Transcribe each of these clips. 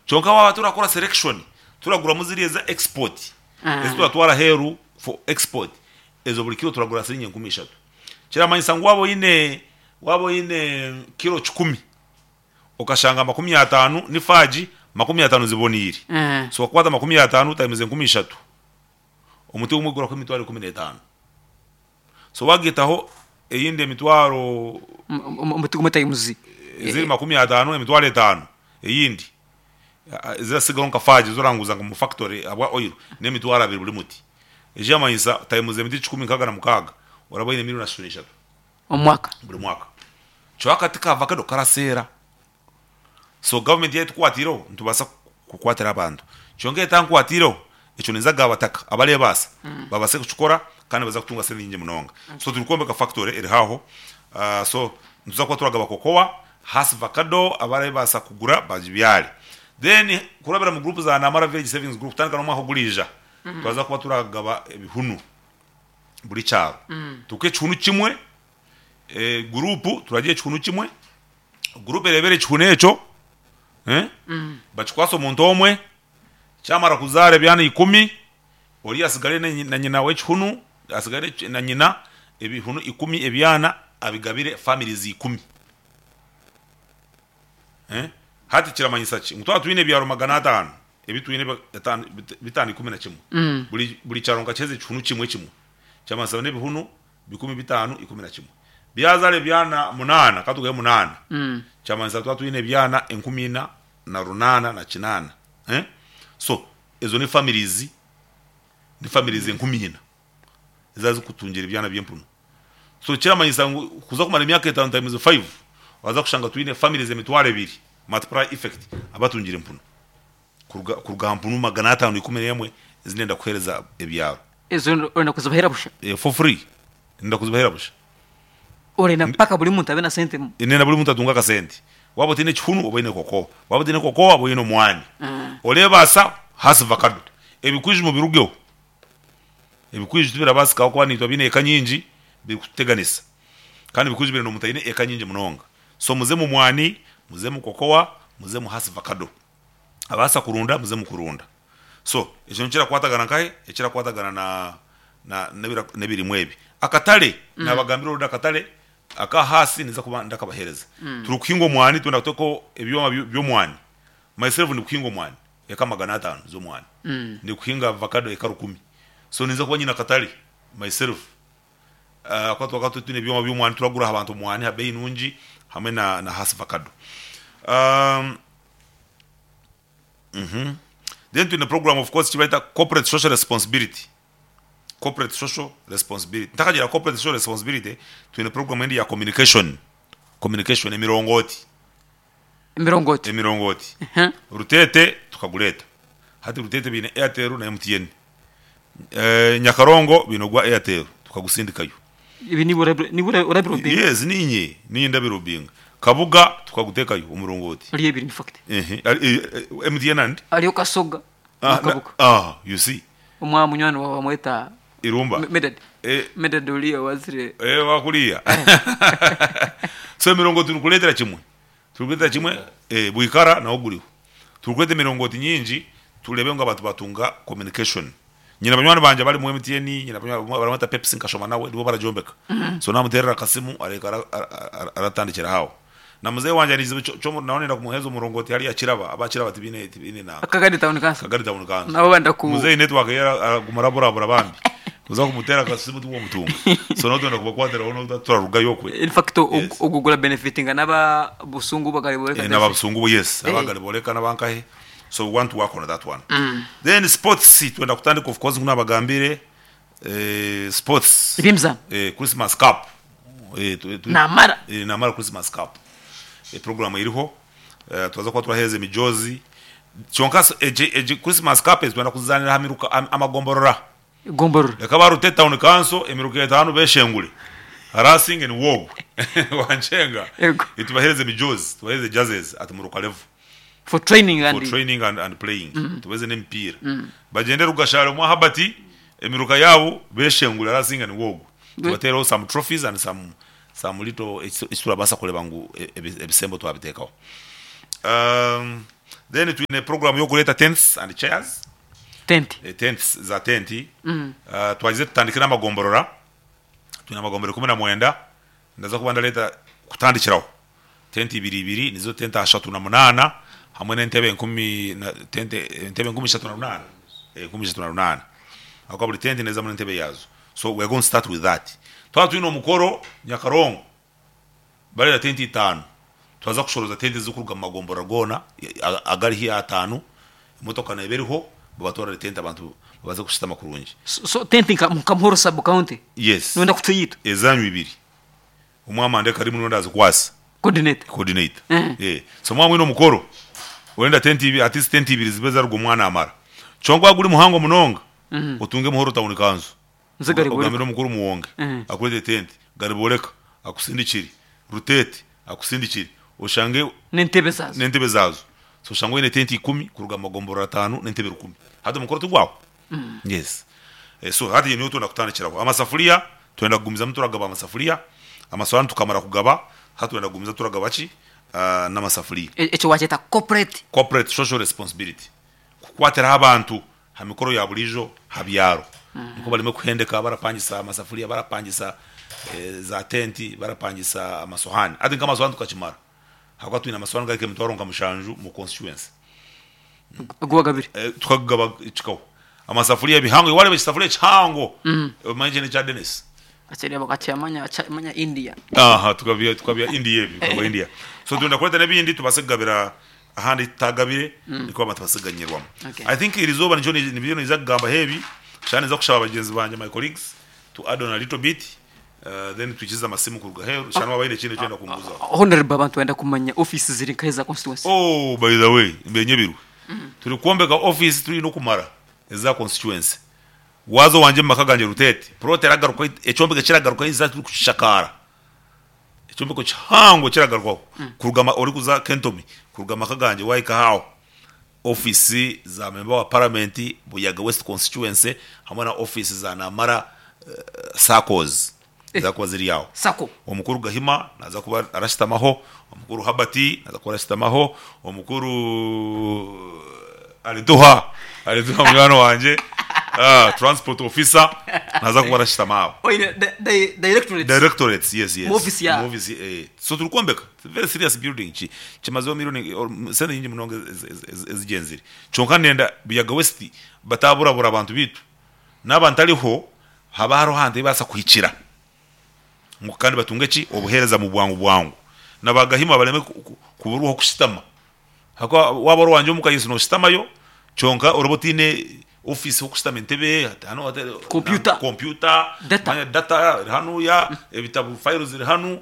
Kyonka waaba turakora selection, turaguramu ziriya eza export, ezi turatwara aheeru for export, ezo buri kiro turagura siringi 3000. Kiramanyisa ngu waaba oine waaba oine kiro kikumi, okashanga 50 ni faagi, 50 ziboniire. So wakukwata 50 times 3000, omuti gumwe gurakuha emitwaro 15. So wagaitaho eyindi emitwaro. Omuti gumwe times. Eziri 50, emitwaro etaano eyindi eziratsigaho nka faagi ezi oranguza nka omu factory ahabwa oil n'emitwaro abiri buri muti. Ekirikumanyisa times emiti 166 oraba oine million ashatu na ishatu. Omu mwaka. Buri mwaka. Kyonka akati ka vakedo karaseera. So gavumenti yaaba etukwatiireho nitubaasa kukwatira abantu. Kyonka etankwatiireho, ekyo ninza kugaha abataka abareebaasa babaase kukikora kandi nibaza kutunga sente nyingi munonga. So turikwombeka factory eri haaho, so nituza kuba turagaba cocoa, Hass vacado abareebaasa kugura bagibyare. Then kurabira mu group za Namara Village Savings Group kutandika n'omwaka oguriija, twaza kuba turagaba ebihunu buri kyaro. Tukuhe ekihunu kimwe, guruupu turagiha ekihunu kimwe, Guruupu ereebere ekihunu ekyo, bakikwatse omuntu omwe, kyamara kuzaara ebyana ikumi, oriya atsigare na nyina w'ekihunu, atsigare na nyina, ebihunu ikumi ebyana abigabire families ikumi. Hati kiramanyisa ki? Ngu twaba twine ebyaro 500, ebi twine 511, buri kyaro nkakiheza ekihunu kimwe kimwe, kyamanyisa n'ebihunu 50, 11. Byazaara ebyana munaana, ka tugahe munaana, kyamanyisa twaba twine ebyana 4808. So, ezo ni families, ni families 4000 ezaaba zirikutungira ebyana by'empunu. So kiramanyisa ngu kuza kumara emyaka etaano times five, waaza kushanga twine families 2000, multiplier effect, abatungire empunu kuruga kuruga aha mpunu 511 ezi ndenda kuheereza ebyaro. Ezo orenda kuzibahera busha? For free. Ndenda kuzibahera busha. Orenda mpaka buri muntu abe na sente? Ndenda buri muntu atunge akasente. Waaba otaine kihunu obe oine kokowa, waaba otaine kokowa obe oine omwani. Oreebaasa hasi vakado. Ebikwiju mubirugeho. Ebikwiju tibirabaasika ahabw'okuba naitwe abaine eka nyingi birikututeganisa. Kandi ebikwiju birenda omuntu aine eka nyingi munonga. So muze mu mwani, muze mu kokowa, muze mu hasi vakado. Abaasa kurunda muze mukurunda. So ekyo nikirakwatagana nkahe? Ekirakwatagana na na n'ebirimwa ebi. Akatare naabagambira already akatare aka ahaasi ninza kuba ndakabaheereza. Turikuhinga omwani twenda kuteekaho ebyoma by'omwani. Myself ndikuhinga omwani eka 500 z'omwani. Ndikuhinga avacado eka rukumi. So ninza kuba nyine akatare myself. Ahakuba twakaba twine ebyoma by'omwani turagura aha bantu omwani aha beeyi nungi hamwe na na Hass avacado. Then twine program of course ekibareta corporate social responsibility, corporate social responsibility. Ntakagira corporate social responsibility, twine program endi ya communication, communication emirongooti. Emirongooti. Emirongooti. Ruteete tukagureeta. Hati Ruteete baine Airtel na MTN. Nyakarongo baine ogwa Airtel tukagusindikayo. Ebi niiwe orabirobinga? Yes, niinye, niinye ndabirobinga. Kabuga tukaguteekayo omurongooti. Hariyo ebiri in fact. MTN and? Hariyo Kasoga na Kabuga. Ah, you see. Omwa munywani waawe bamweta Irumba. Medard. Medard oriya owazire. Eh, owa kuriya. So emirongooti turikureetera kimwe. Turikureetera kimwe Bwikara nawo guriho. Turikureeta emirongooti nyingi tureebe ngu abantu baatunga communication. Nyine banywani bangye abari omu MTN, nyine abanywani baramweta Pepsi nkashoma nawe nibo baragyombeka. So namuteerera akasimu areeka aratandikira aho. Na muzeeyi wangye aine ekizibu ky'omu nawe nenda kumuheereza omurongoti hariya Kiraba, aba Kiraba tibaine tibaine nanka. Kagadi Town Council. Kagadi Town Council. Nabo benda ku. Muzeeyi network ye araguma araburabura bambi. Kuza kumuteera akasimu tiwomutunga. So nawe twenda kubakwatiraho nobu turarugayo okwe. In fact ogwo gura benefitinga n'aba Busungu Bagariboreka. N'aba Busungu yes, aba Gariboreka n'abankahe. So we want to work on that one. Then sports twenda kutandika of course ngu nabagambire sports. Eby'emizaano. Christmas cup. Namara. Namara Christmas cup. Program eriho twaza kuba turaheereza emijoozi. Kyonka egi Christmas cup ezi twenda kuzizaanira aha miruka amagomborora. Egomborora. Reka aba Rute Town Council emiruka etaano beshengure. Arasinge niwe ogwe. Wankyenga. Yego. Tubaheereze emijoozi, tubaheereze jerseys at muruka level. For training and. For training and, and playing. Tubaheereze n'emipiira. Bagyende Rugashare omwa Herbert emiruka yaabo beshengure arasinga niwe ogwe. Tubateereho some trophies and some some little eki turabaasa kureeba ngu ebisembo twabiteekaho. Then twine program y'okureeta tents and chairs. Tenti. Tents, za tenti. Twagize tutandike n'amagomborora. Twine amagombora 19, ndaza kuba ndareeta kutandikiraho tenti ibiri ibiri nizo tenti ashatu na munaana hamwe n'entebe enkumi na tente entebe 3800 3800 ahabw'okuba buri tenti neezamu n'entebe yaazo so we are going to start with that. Twaba twine omukoro Nyakarongo bareeta tenti itaano twaza kushoroza tenti ezirikuruga omu magomborora goona agari haihi ataano emotoka neeba eriho babatwarire tenti abantu babaase kushutama kurungi. So tenti nka Muhoro sub county Yes. noyenda kutuha Ezanyu ibiri. Omwe amandeka rimwe n'ondi azikwasa. Coordinator. Coordinator. Eh. So mwaba mwine omukoro, orenda tenti ibiri, at least tenti ibiri zibe zaruga omu mwana amara. Kyonka gwaba guri muhango munonga, otunge Muhoro Town Council. Nze Gariboreka. Ogambire omukuru Muwonge akureetere tenti. Gariboreka akusindikire, Ruteete akusindikire, oshange. N'entebe zaazo. N'entebe zaazo. So oshange oine tenti ikumi kuruga omu magomborora ataano n'entebe rukumi. Hati omukoro tigwaho? Yes. So hati niho twenda kutandikiraho. Amasafuriya, twenda kugumizamu turagaba amasafuriya, amasowaani tukamara kugaba, hati twenda kugumizamu turagaba ki? N'amasafuriya. Ekyo waakyeta corporate? Corporate social responsibility. Kukwatiraho abantu ha mikoro ya buriijo ha byaro. Nikwo bareme kuhendeka barapangisa amasafuriya, barapangisa za tenti, barapangisa amasowaani. Hati nk'amasowaani tukakimara ahabw'okuba twine amasowaani gari nk'emitwaro nka mushanju omu constituency. Agu wagabire? Tukagaba kikaho. Amasafuriya ebihango, wareeba ekisafuriya ekihango omanye ekyo n'ekya Denis. Akireba akakyamanya akyamanya India. Aha tukabya tukabya India ebyo bikagwa India. So twenda kureeta n'ebindi tubaase kugabira ahandi ahu tutagabire nikwo abantu babaase kuganyirwamu. Okay. I think erizooba nikyo nibyo ninza kugambaho ebi, shaaha ninza kushaba bagyenzi bangye my colleagues to add on a little bit then twikirize amasimu kuruga aheeru shana waaba haine ekindi eki orenda kumbuuzaho. Honourable abantu benda kumanya office ziri nkahi eza constituency? Oh by the way mbenyebirwe turikwombeka office turi n'okumara eza constituency waaza owangye mumaka gangye Ruteete plot eragarukaho ekyombeko ekiragarukaho eza turikukishakaara ekyombeko kihango ekiragarukaho kuruga orikuza Kentomi kuruga mumaka gangye wahika aho Ofiisi za memba wa Paramenti Buyaga West Constituency hamwe na ofiisi za Namara SACCOs niziza kuba ziri aho. Sacco. Omukuru Gahima naaza kuba arashutamaho, omukuru Herbert naaza kuba arashutamaho, omukuru Alituha, Alituha munywani wangye, transport officer naaza kuba arashutama aho. Oine directorates. Directorates, yes, yes. Mu ofiisi ya. Mu ofiisi, eh. So turikwombeka. It's a very serious building. Ki, kimazeho million, sente nyingi munonga ezigyenzire. Kyonka ndenda Buyaga West bataburabura abantu beitu. Naaba ntariho, haba hariho ahantu ahu babaasa kuhikira ngu kandi batunge ki? Obuheereza mu bwangu bwangu. Na ba Gahima bareme kuburwa ah'okushutama. Ahakuba waaba ori owangye omuka yes nooshutamayo kyonka oraba otaine ofiisi ah'okushutama entebe, hanu Kompyuta. kompyuta, Data. manya data eri hanuya, ebitabo fayiro ziri hanu,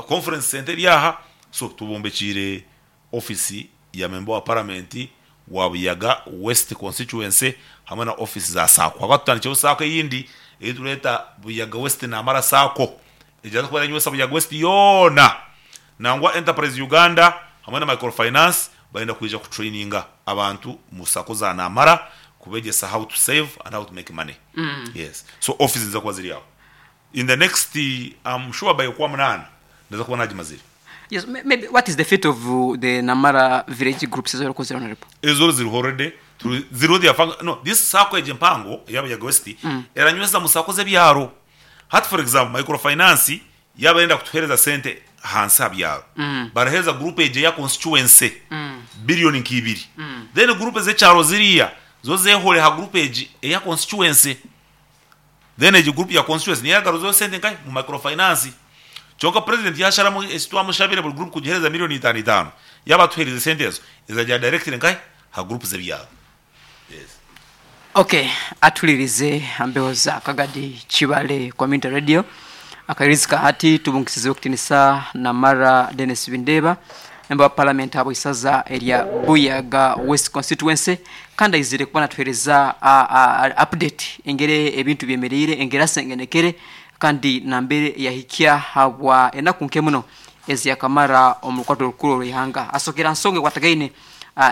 conference centre eri aha. So tubombekiire ofiisi ya memba wa paramenti wa Buyaga West constituency hamwe na ofiisi za SACCO. Ahakuba tutandikireho SACCO eyindi ei tureeta Buyaga West Namara SACCO egyaza kuba eranywesa Buyaga West yoona. Nangwa Enterprise Uganda hamwe na Microfinance barenda kwija kutraininga abantu mu sacco za Namara kubegyesa how to save and how to make money. Yes. So office niziza kuba ziri aho. In the next I'm sure by Okwamunaana ndaza kuba nagimazire. Yes, maybe what is the fate of the Namara village groups ezi orikukozire Honourable? Ezo ziriho already, turi ziriho they are func no this sacco egi empango eya Buyaga West eranyweza mu sacco z'ebyaro. Hati for example microfinance Yaaba arenda kutuheereza sente ahansi aha byaro, baraheereza guruupu egyo eya constituency billion nka ibiri. Then guruupu ez'ekyaro ziriya zo zeehore aha guruupu egi eya constituency. Then egi guruupu ya constituency niyo eragaruzayo sente nkahi? Mu microfinance. Kyonka purezidenti yaasharamu eki twamushabire buri guruupu kugiheereza million itaano itaano, yaaba atuheerize sente ezo, ezagira directly nkahi? Aha guruupu z'ebyaro. Yes. Ok, atuhuririze aha mbeho za Kagadi Kibale Community Radio. Akairirizi ka hati tubungisize ow'ekitinisa Namara Denis Bindeeba, memba wa Palamenti ahabwa isaza erya Buyaga West Constituency kandi aizire kuba natuhereza update engeri ebintu byemereire, engeri asengenekere kandi nambere yahikya habwa enaku nke muno ezi yakamara omu rukwato orukuru orw'eihanga. Asokere aha nsonga ekwatagaine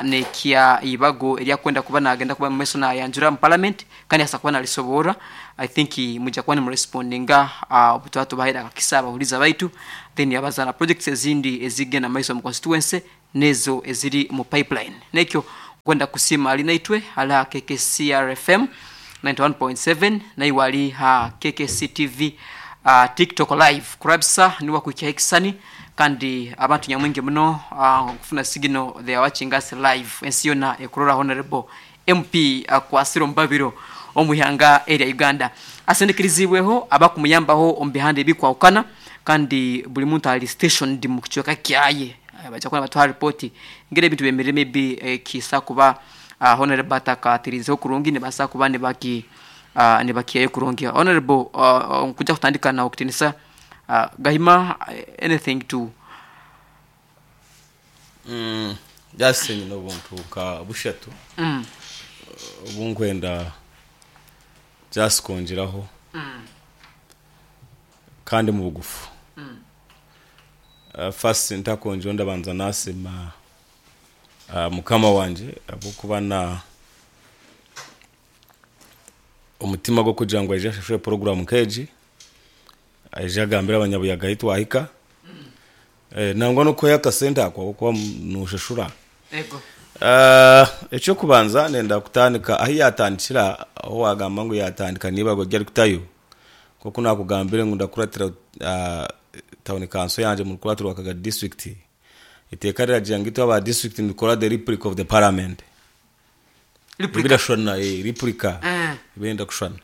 n'ekya eibago eri akwenda kuba nagenda kuba mumaiso nayanjura omu parliament kandi abaasa kuba narisoboorora. I think mwija kuba nimurespondinga obu twaba tubahaire akakisa abahuriza baitu then yabaza na projects ezindi ezigenda mumaiso omu constituency. n'ezo eziri mu pipeline. N'ekyo nkwenda kusiima ali naitwe ali aha KKCR FM 91.7 naiwe ali ha KKC TV uh, TikTok live kurabisa niwe akuhikyaho ekisani kandi abantu nyamwingi muno uh, kufuna signal they are watching us live ensi yona ekurora Honorable MP akwasire omubabiro omu ihanga erya Uganda asindikirizibweho abakumuyambaho omu bihanda ebikwahukana kandi buri muntu ali stationed mu kicweka kyaye baija kuba nibatuha report engeri ebintu byemerire maybe ekiisa kuba uh, Honorable atakatirizeho kurungi nibaasa kuba nibaki uh, nibakihayo kurungi. Honorable uh, nkuja kutandika nawe kutinisa uh, Gahima anything to Mm, just nyine obuntu nka bushatu obu nkwenda just kwongyeraho kandi mu bugufu. First ntakwongyeraho ndabanza nasiima mukama wangye ahabw'okuba na omutima gw'okugira ngu aije ashashure puroguramu nk'egi, aije agambire abanyabuyaga ahi twahika. Nangwa n'okuhayo akasente ako ahabw'okuba noshashura. Ego. Eky'okubanza nenda kutandika ahi yaatandikira ahu waagamba ngu yaatandika n'eibago ri arikutayo. Nk'oku naakugambire ngu ndakuratira tawuni kanso yangye omu rukurato rwa Kagadi disiturikiti, eiteeka riragira ngu itwe aba disiturikiti nitukora the replica of the parliament. Replica. Ebirashushana, replica, ebirenda kushushana.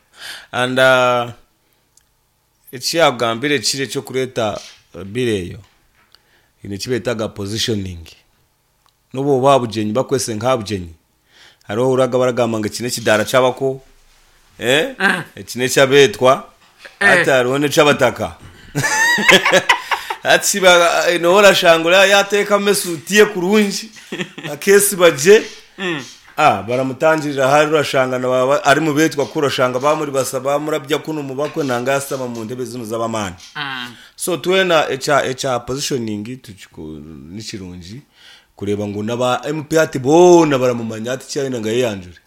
And eki yaakugambire kiri eky'okureeta bill eyo, haine eki beetaga positioning. N'obu oba aha bugyenyi bakwese nk'aha bugyenyi, hariho obu ohurira baragamba ngu eki n'ekidaara ky'abako, eki n'eky'abeetwa, hati hariho n'eky'abataka. Hati shi nooba orashanga oriya yaateekamu esuuti ye kurungi, akeesiba gye, baramutangirira hariya orashanga naaba ari mu beetwa kuri orashanga baamuribasa baamurabya kunu omu bakwe nangwa yaashutama omu ntebe zinu z'ab'amaani. So twena ekya ekya positioning ni kirungi kureeba ngu n'aba MP hati boona baramumanya hati kyayenda ngu ayeyanjure.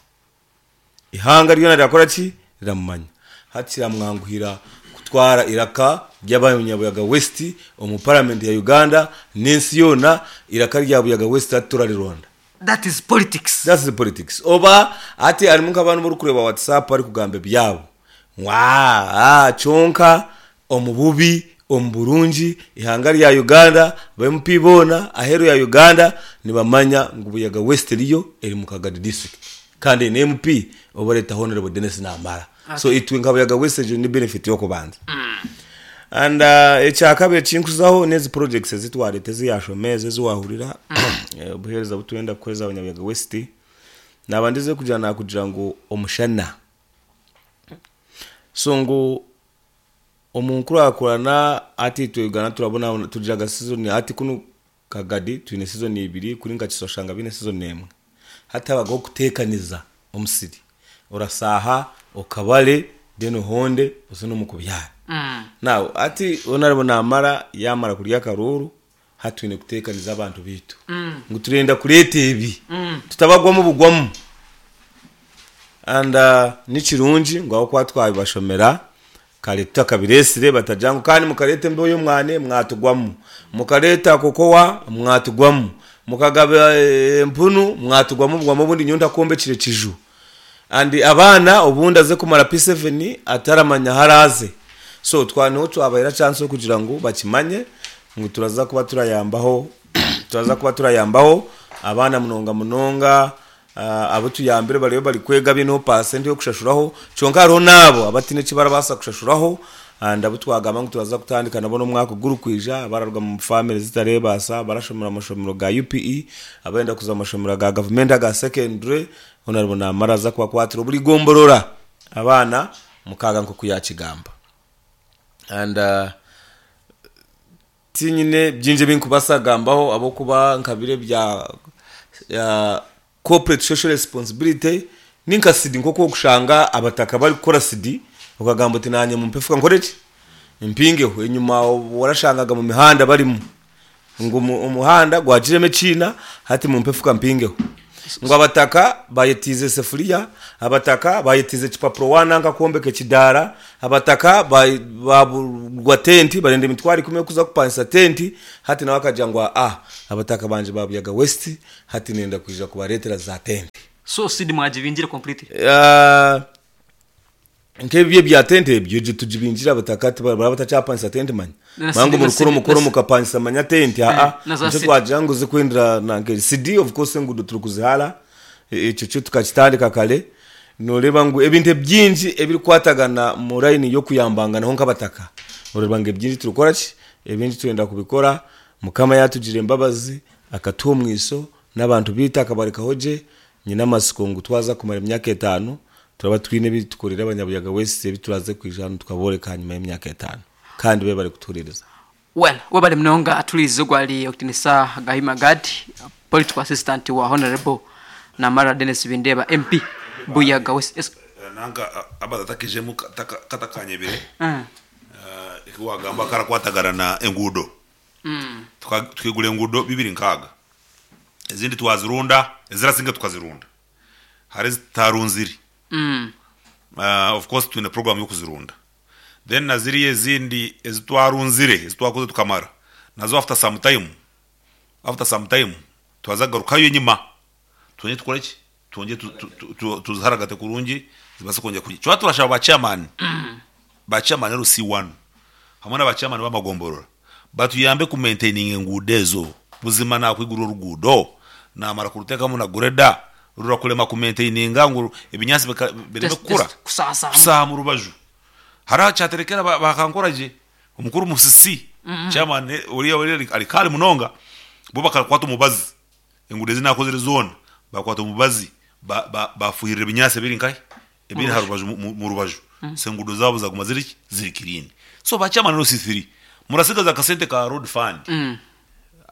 Eihanga ryona rirakora ki? Riramumanya. Hati kiramwanguhira kutwara eiraka ry'abanyabuyaga West omu parliament ya Uganda n'ensi yoona eiraka rya Buyaga West hati turarironda. That is politics. That's the politics. Oba hati harimu nk'abantu abu orikureeba WhatsApp barikugamba ebyabo ngu aah kyonka Omu bubi, omu burungi, eihanga rya Uganda, ba MP boona aheeru ya Uganda nibamanya ngu Buyaga West eriyo eri mu Kagadi district kandi eine MP obareeta Hon. Denis Namara. So itwe nka Buyaga West egyo ni benefit y'okubanza. And ekyakabiri ekinkuzaho n'ezi projects ezi twareeta ezi yashoma ezi ezi wahurira obuheereza obu turenda kuheereza abanyabuyaga West, naaba ndize kugira nakugira ngu omushana. So ngu Omu nkurakurana hati itwe Uganda turabonabona tugiraga sizoni hati kunu Kagadi twine sizoni ibiri kuri nka Kisoro oshanga biine sizoni emwe. Hati habagaho okuteekaniza omusiri orasaaha okabare then ohonde oze n'omu kubyara. Now hati honourable namara yamara kurya akaruuru hati twine kuteekaniza abantu baitu ngu turenda kureeta ebi tutabagwamu bugwamu and ni kirungi ngu ahabw'okuba twabibashomera kare tutakabireetsire batagira ngu kandi mukareeta embeho y'omwani mwatugwamu, mukareeta kokowa mwatugwamu, mukagaba empunu mwatugwamu bugwamu obundi nyowe ntakwombekire kiju and abaana obundi aze kumara P7 ataramanya ahu araaze so twa niho twabaheera chance y'okugira ngu bakimanye ngu turaza kuba turayambaho turaza kuba turayambaho abaana munonga munonga abu tuyambire bariyo bari kwega baineho paasenti y'okushashuraho kyonka hariho n'abo abataine eki barabaasa kushashuraho and abu twagamba ngu turaza kutandika nabo n'omwaka ogurikwija abararuga omu famire zitareebaasa abarashomera omu mashomero ga UPE abarenda kuza omu mashomero ga gavumenti aga secondary Honourable namara aza kubakwatira oburi gomborora abaana mukaaga nkoku yakigamba and tinyine byingi ebinkubasa kugambaho ahabwokuba nka biri ebya corporate social responsibility ninka sidi nkoku okushanga abataka barikukora sidi okagamba oti nanye mumpe efuka nkoreki mpingeho enyima warashangaga mumihanda barimu ngu omuhanda gwagiremu ekiina hati mumpe efuka mpingeho. Ngu abataka bayetiize esefuriya, abataka bayetiize ekipapuro waananka kwombeka ekidaara, abataka baaburwa tenti barenda emitwaro ikumi y'okuza kupangisa tenti, hati nawe akagira ngu aa abataka bangye ba Buyaga West hati nenda kwija kubareetera za tenti. So seed mwagibingire completely? Nk'ebyo ebya tente ebyo egyo tugibingire abataka tibaraba batakyapangisa tente manya. Manya ngu murikukora omukoro mukapangisa manya tente aa nikyo twagira ngu zikwendera nanka CD of course enguudo turikuzihaara ekyo kyo tukakitandika kare noreeba ngu ebintu ebingi ebirikwatagana mu line y'okuyambanganaho nk'abataka oreeba ngu ebingi turikukora ki ebingi turenda kubikora mukama yatugira embabazi akatuha omwiso n'abantu beitu akabarekaho gye nyine amatsiko ngu twaza kumara emyaka etaano Turaba twine ebi tukorire abanyabuyaga West ebi turaze kwija hanu tukabooreka ahanyima y'emyaka etaano. Kandi bebare kutuhuririza. Well webale munonga atuhuririze ogwo ari Okitinisa Gahima Gad political assistant wa Honourable Namara Denis Bindeeba MP Buyaga West. Yes. Nanka Albert atakijemu katakanyebire eki wagamba karakwatagana na enguudo. Tukaigura enguudo bibiri nkaaga ezindi twazirunda ezirasinga tukazirunda. Hariho ezitarunzire of course twine program y'okuzirunda then na ziriya ezindi ezi twarunzire ezi twakoze tukamara nazo after some time after some time twaza kugarukayo enyima twongye tukore ki twongye tuziharagate kurungi zibaase kwongyera kugira kyonka turashaba ba chairman ba chairman LC1 hamwe na ba chairman b'amagomborora batuyambe ku maintaininga enguudo ezo. Buzima nakwigura oruguudo namara kurutekamu na grader rurakurema ku maintaininga ngu ebinyaatsi bireme kukura kusaaha mu rubaju. Hariho aha Kyaterekera bakankora gye omukuru Musisi chairman oriya ari kare munonga bo bakakwata omubazi enguudo ezi nakozire zoona bakwata omubazi bafuhirira ebinyaatsi ebiri nkahi ebiri aha rubaju mu rubaju so enguudo zaabo zaguma ziri ki ziri clean so ba chairman LC3 murasigaza akasente ka road fund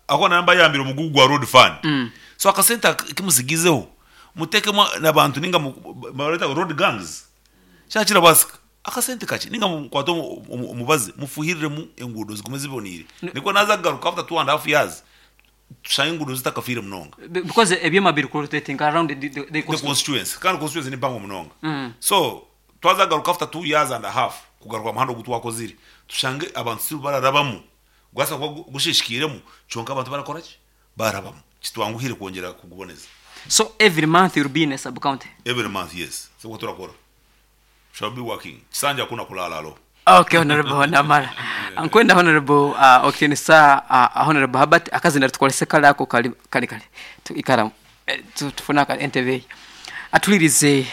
ahakuba naba mbayambire omugugu gwa road fund so akasente aku musigizeho mutekemu nabantu ninga bareta road gangs kyaba kirabaasika akasente kakye ninga mukwate omubazi mufuhiriremu enguudo zigume ziboniire nikwo naza kugaruka after 2.5 years Tushange enguudo zitakafiire munonga. Because ebyoma biri ku rotatinga around the The constituency. Kandi constituency ni mpango munonga. So, twaza kugaruka after 2 years and a half kugaruka aha muhanda ogu twakozire, tushange abantu still bararabamu. Gubaasa kuba gushishikairemu kyonka abantu barakora ki? Barabamu. Kitwanguhire kwongyera kuguboneza. So every month you'll be in a sub county? Every month, yes. Nikwo turakora. Shall be working. Kisanja hakuna kulala alo. Okay honorable namara nkwenda honorable uh, okitinisa uh, honorable Herbert akazina tukolese kale ako kali kale kale tu, ikara eh, tu, tufune aka entebe atulirize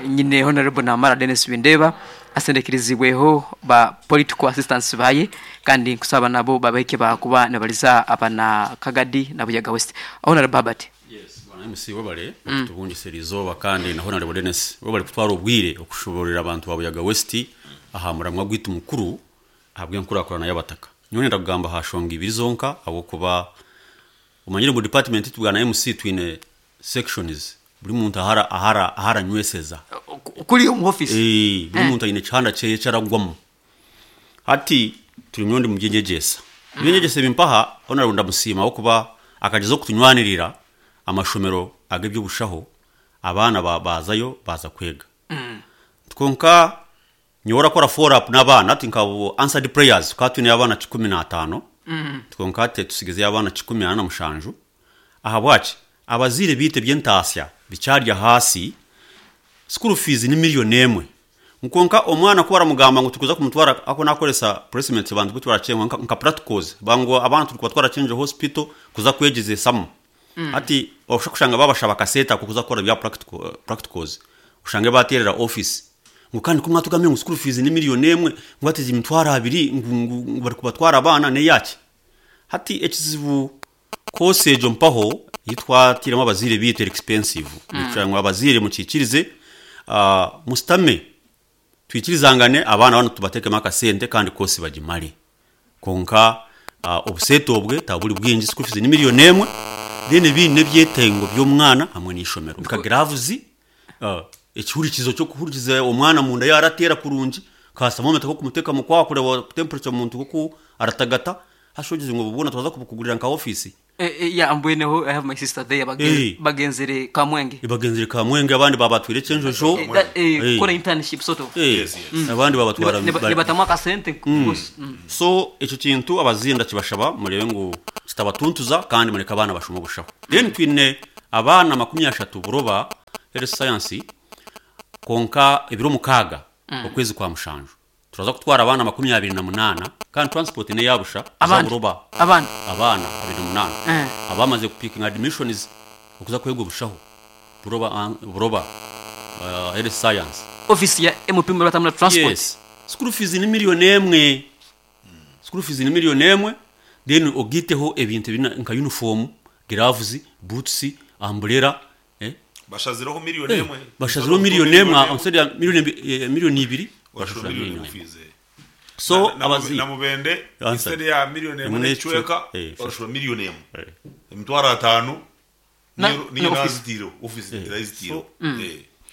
nyine honorable namara Dennis Bindeba asendekirizibweho ba political assistants baye kandi nkusaba nabo babahike bakuba nibariza abana Kagadi na Buyaga West honorable Herbert. Yes bwana MC webare okutubungisa erizooba kandi na Honarebo Denis webare kutwara obwire okushobororera abantu ba Buyaga West aha muramwa gwaitu mukuru ahabw'enkurakurana y'abataka. Nyowe nenda kugamba aha shonga ibiri zonka ahabw'okuba omanyire ngu department yaitu bwana MC twine sections buri muntu ahu aranyweseza. Kuri omu office? Buri muntu aine ekihanda kyeye eki aragwamu. Hati turi nyowe ndi omu by'enyegyesa. Eby'enyegyesa ebi mpaha Honourable ndamusiima ahabw'okuba akagyezaho kutunywanirira amashomero ag'eby'obushaho abaana baazayo baaza kwega. Kwonka nyowe orakora follow up n'abaana hati nka answered prayers tukaba twineyo abaana 15 kwonka hati tutsigizeyo abaana 47. Ahabwaki? Abazaire beitu eby'entaasya bikyari ahaasi, school fees ni million emwe. Kwonka omwana ku baramugamba ngu turikuza kumutwara aku nakoresa placements abantu bu tibarakyengwa nka practicals ngu abaana turikubatwara Kyenjojo hospital kuza kwegyezesamu. Hati oshusha kushanga babashaba akasente ako kuza kukora ebya practicals oshange baterera office ngu kandi ku mwatugambire ngu school fees ni million emwe ngu hati egi emitwaro abiri ngu barikubatwara abaana neyaki? Hati ekizibu course egyo mpaho ei twatairemu abazaire baitu eri expensive nitushaba ngu abazaire mukiikirize musitame twikirizangane abaana banu tubatekemu akasente kandi course bagimare kwonka obuseete obwe taburi bwingi school fees ni million emwe then ebindi n'ebyetengo by'omwana hamwe n'eishomero nka gloves Ekihurikizo ky'okuhurikiza omwana munda yaaba arateera kurungi, ka thermometer k'okumuteeka omu kwaha kureeba temperature omuntu oku aratagata, haza ogize ngu obu bwona twaza kubukugurira nka ofiisi. Yeah, mbweneho I have my sister there bagenzere Kamwenge. Bagenzere Kamwenge, abandi babatwire Kyenjojo. Kukora internship sort of. Yes. Abandi babatwara Nibatamu akasente gusa. So ekyo kintu abaziire ndakibashaba murebe ngu kitabatuntuza kandi mureke abaana bashome obushaho. Then twine abaana 30 buroba health science, konka ebiro 6 okwezi kwa 7 turaza kutwara abaana 28, kandi transport ne yabusha Abandi? Buroba. Abaana? Abaana 28 abamaze kupicking admissions okuza kwega obushaho buroba, buroba health science. Office ya MP muratamura transport. Yes. School fees ni 1 million. School fees ni 1 million, then ogiteho ebintu ebina nka uniform, gloves, boots, umbrella, Bashazireho 1 million. Bashazireho 1 million instead ya 2 million, bashura bashura miliyoni 1 million. Fees. So abazi na mubende Answer. instead ya 1 million Emwe n'ekicweka bashura 1 million, 500,000. Niyo Na office. nazitiro office irazitiro.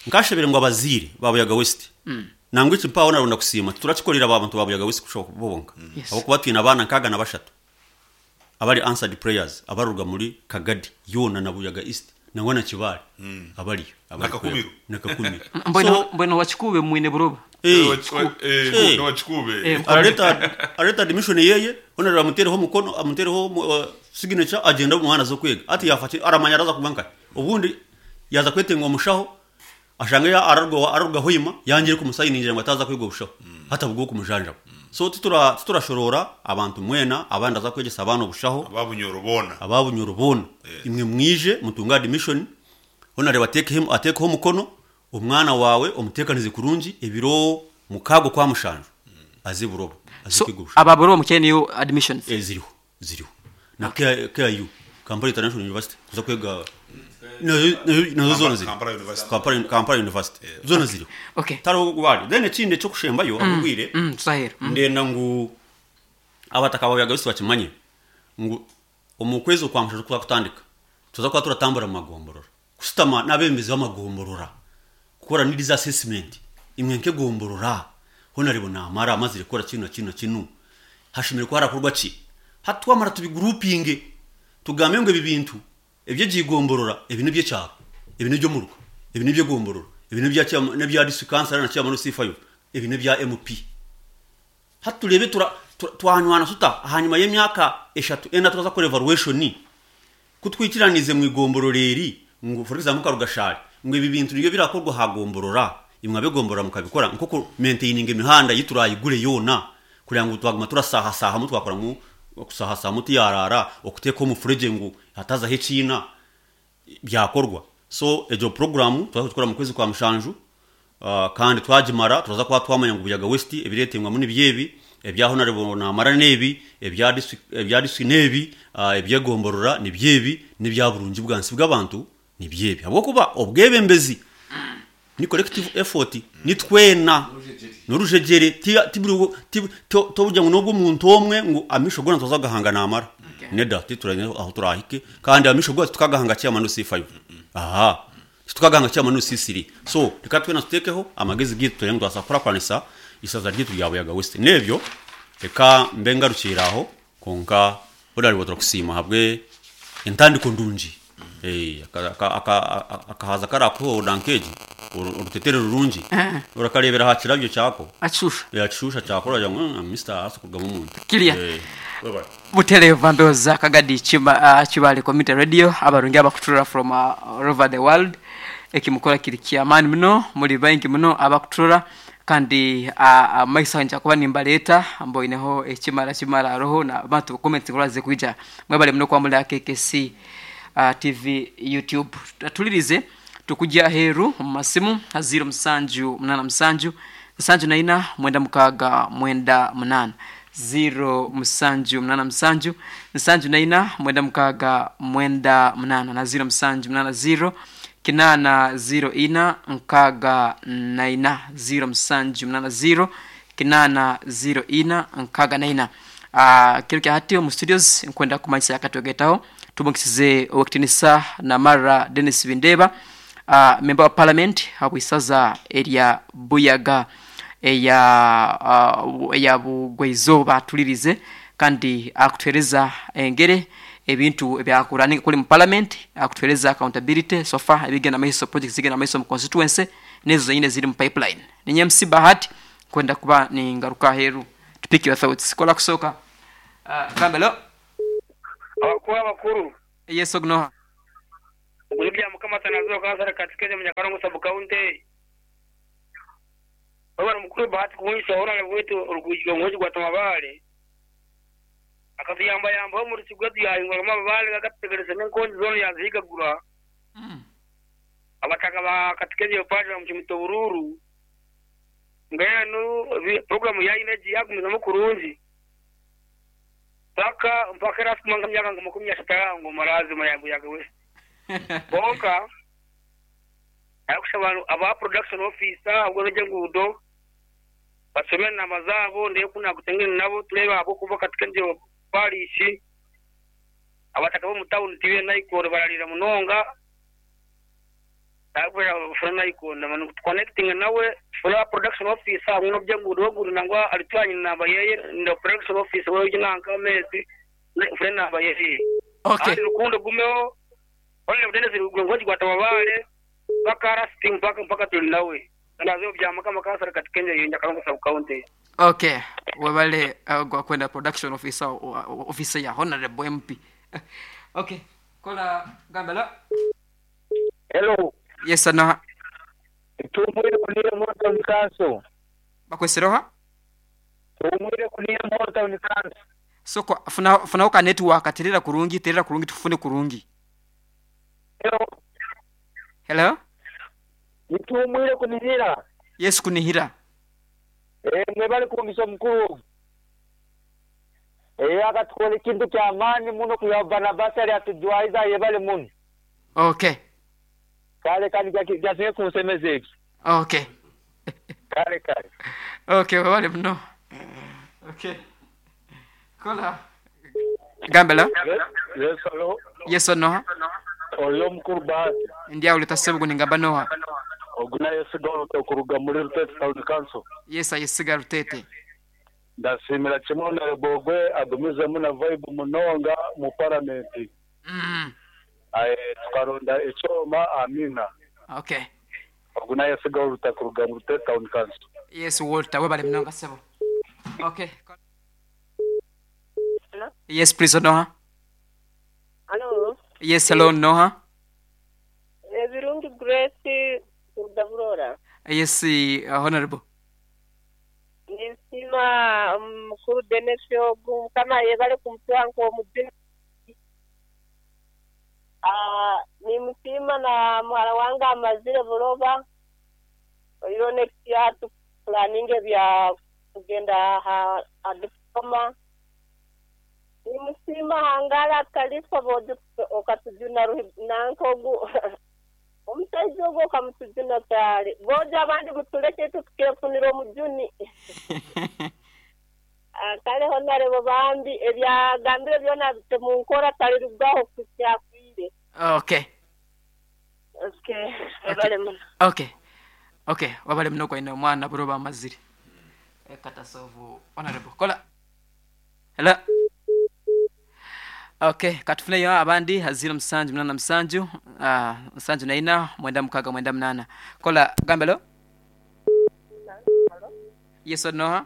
Nkashabire ngo abaziire babuyaga West nangwa eki mpaho naronda kusiima turakikorera abantu babuyaga West kushoboka bobonka. Ahabwokuba twine abaana 63 abari answered prayers abaruga muri Kagadi yoona na Buyaga East nangwa na Kibaale abariyo abari Nakakumiro. kwega. Nakakumiro. Mbwene So mbwene wakikube mwine buroba. Nowakikube. Araleta admission yeye, onareba amutereho omukono, amutereho signature, agenda omwana aza kwega. Ati yafa aramanya araza kuba nkahe obundi yaza kwetenga omushaho ashange ya ararwa hoima yangire kumusayiningira ngo ataza kwiga obushaho hatabwo kumujanjaba. So titurashorora abantu mwena abandi aza kwegesa abaana obushaho. Ababunyoro bona. Ababunyoro bona, imwe mwije mutunga admission, onareba atekeho atekeho omukono, omwana wawe omutekanize kurungi, ebiro 6 kwa 7 aze buroba aze So kwiga obushaho. aba buroba mukene niyo admissions. Ziriho, ziriho na KIU, Kampala International University, kuza kwega nazo zona ziri. Kampala University. Kampala University zona ziriho. Tariho gwari. Then ekindi ekyokushembayo akugwire, Tutahera. Ndenda ngu abataka babuyaga bose bakimanye ngu omu kwezi okwa 7 kuba kutandika tuza kuba turatambura mu magomborora kusitama n'abembezi b'amagomborora kukora needs assessment. Imwe nk'egomborora honarebo namara amazire kukora kino na kino na kino, hashemere kuba harakorwa ki? Hatwamara tubigroupinge, tugambe ngo ebi bintu ebyegigomborora, ebi nibyekyaro, ebi nibyomuruka, ebi nibyegomborora, ebi nibya n'ebya district council na chairman C5, ebi nibya MP. Haturebe twanywana tuta hanyuma y'emyaka 3 4 turaza kora evaluation kutwikiranize mu igombororeri ngo for example Karugashari ngo ibi bintu nibyo birakorwa hagomborora, imwe abegomborora mukabikora nko ku maintaining imihanda yiturayigure yona kugira ngo twaguma turasahasaha mu twakora mu kusahasaha muti yarara okuteka omufurege ngu hatazaho ekiina byakorwa. So ejo program turaza kugikora mu kwezi kwa 7, kandi twagimara turaza kuba twamanya ngu Buyaga West ebiretengwamu nibyebi, ebya honorable namara nebi, ebya district nebi, ebyegomborora nibyebi, n'ebya burungi bwansi bw'abantu nibyebi, habwokuba obwebembezi ni collective effort, ni twena n'urujegere toburya ngo nubwo omuntu omwe ngo amisho gona tuza gahanga namara. Neda tituranye aho turahike kandi amisho gona tukagahanga chairman C5, aha tukagahanga chairman C3. So reka twena tutekeho amagezi gitu turenga twasakora kwanisa isaza ryitu rya Buyaga West. Nebyo reka mbe ngarukira aho, konka burari turakusiima habwe entandiko ndungi. Akahaza karakuhoda nkeji orutetere rurungi urakarebera ha kirabyo kyako. Achusha. Yakishusha kyakora ngo Mr. asukugamo omuntu. Kilia. Bye-bye. Butereeva ndowooza Kagadi Kibale Community Radio, abarungi abakuturora from all over the world, ekimukola kiri kyamaani muno, muri baingi muno abakuturora kandi maiso nja kuba nimbaleeta mboineho ekimara kimara aroho na bantu comments ngolaze kwija. Mwebale muno kwamula KKC TV YouTube. Tulirize tukujja aheeru mu masimu 0787 74 96 98, 0787 74 96 98 na 0780 804 64, 0780 804 64. Kiro kya hati mu studios nkwenda kumanyisa yakatwegetaho tubongesize owekitinisa Namara Dennis Bindeba, member wa parliament habwisaza erya Buyaga eya eya Bugweizooba. Tulirize kandi akutuhereza engere. ebintu ebyakurani kuli mu parliament akutuhereza accountability so far ebigenda maiso, projects zigenda maiso mu constituency nezo zenyine ziri mu pipeline. Ninye MC Bahati kwenda kuba ningaruka aheru to pick your thoughts. Kola kusooka Kambelo. Abakuru abakuru. Yes ognoha. Ogu ni Byamukama Atanaziyo kansara Katikezi omu Nyakarongo sub county. Webare mukuru Bahati kuhungisa Honarebo waitu orugwiji gwa Tamabare akatuyambayambaho omu rusi gwaitu yahinguramu amabare agatutegerese n'enkongi zoona yazihigagura. Abataka ba Katikezi Eupadi bamucumita oburuuru. Mbwenu puroguramu yaine egi yagumizamu kurungi mpaka mpaka erasukuma nk'emyaka nka 30 aha ngu marazima ya Buyaga West. Kwonka arikushaba aba production officer ahabwa n'eby'enguudo basome enamba zaabo ndeebe ku nakutengene nabo tureebe ahabw'okuba Katikezi parish abataka b'omu tawuni tibaine nayikondo barariira munonga. Tukonekitinge nawe tufune aba production officer hamwe n'oby'enguudo ogundi nangwa arituha enamba yeye na production officer we nanka ameezi nfune enamba yeye. Okay. Kandi rukundo egumeho Honorable Denis Rugwe gwata Mabare mpaka last mpaka mpaka tuli nawe. Nazo bya Mukama kansara Katikenge yo Nyakarongo sub county. Okay, webale gwakwenda production officer officer ya Honorable MP. Okay, kola gambela. Hello. Yes ano. Tumwire kunira Moro Town Council. Bakwesiroha? Tumwire kunira Moro Town Council. Soko funa funa oka network terera kurungi terera kurungi tufune kurungi. Hello. Hello. Nitumwire kunihira. Yes kunihira. Mwebale kungisa mukuru. Akatukora ekintu ky'amaani muno kwiha Barnabas ari atujwaiza ayebale muno. Okay. Kale kandi kyasinge kunsemeza ekyo. Okay. Kale kale. Okay, webale muno. Okay. Kola. Gambela. Yes, hello. Yes or no? Oyo mukuru Bahati. Ndi awo letasebugu ningamba noha. Ogu nayesiga okuruga muri Rutete Town Council. Yes ayesiga Rutete. Ndasiimira kimwe Honorable Ogwe agumizemu na vibe munonga mu parliament. Tukaronda ekyoma amina. Okay. Ogu nayesiga Walter kuruga mu Rutete Town Council. Yes Walter webale munonga sebo. Okay. Hello? Yes please Noha. Hello. Yes hello Noha. Ebirungi Grace kuruga Burora. Yes Honorable. Ninsiima mukuru Denis ogu Mukama ayebare kumutuha nk'omujuni. Nimusiima na muhara wange amazire buroba. Oihireho next year tupulaninga ebya kugenda aha diploma. Nimusiima hangara atarifa bojo okatujuna nanka ogu omushaija ogu okamutujuna kyari. Bojo abandi mutuleke itwe tukefunira omujuni. Kare Honarebo bambi ebyagambire byona abite munkora tarirugaho kuhitsya afiire. Okay. Okay, webale muno. Okay. Okay, wabale muno kwaine omwana buroba amazire. Katasovu Honorable. Kola. Hello. Okay, katufuneyo abandi haziro musanju munana musanju, musanju na ina, mwenda mukaga mwenda munana. Kola gambelo. Yes or no?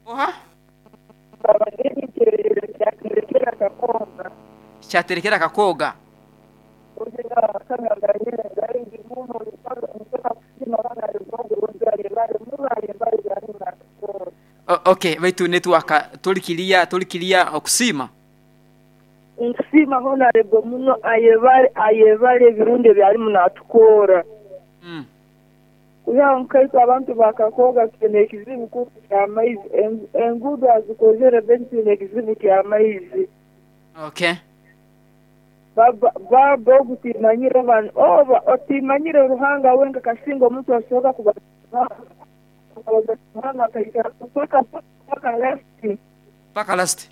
Oha? Kyaterekera kakoga. Okay, baitu network tulikilia tulikilia okusima. Nkusima Honorable muno ayebale ayebale ebirungi ebyarimu natukora. Kuyaho nkaitu abantu bakakoga twine ekizibu kumpi ky'amaizi enguudo azikozere baitu twine ekizibu ky'amaizi. Okay. Baba baba ogu timanyire oba oba otimanyire Ruhanga wenka kasinga omuntu asobola kuba Ruhanga akaikara paka paka last. Paka last.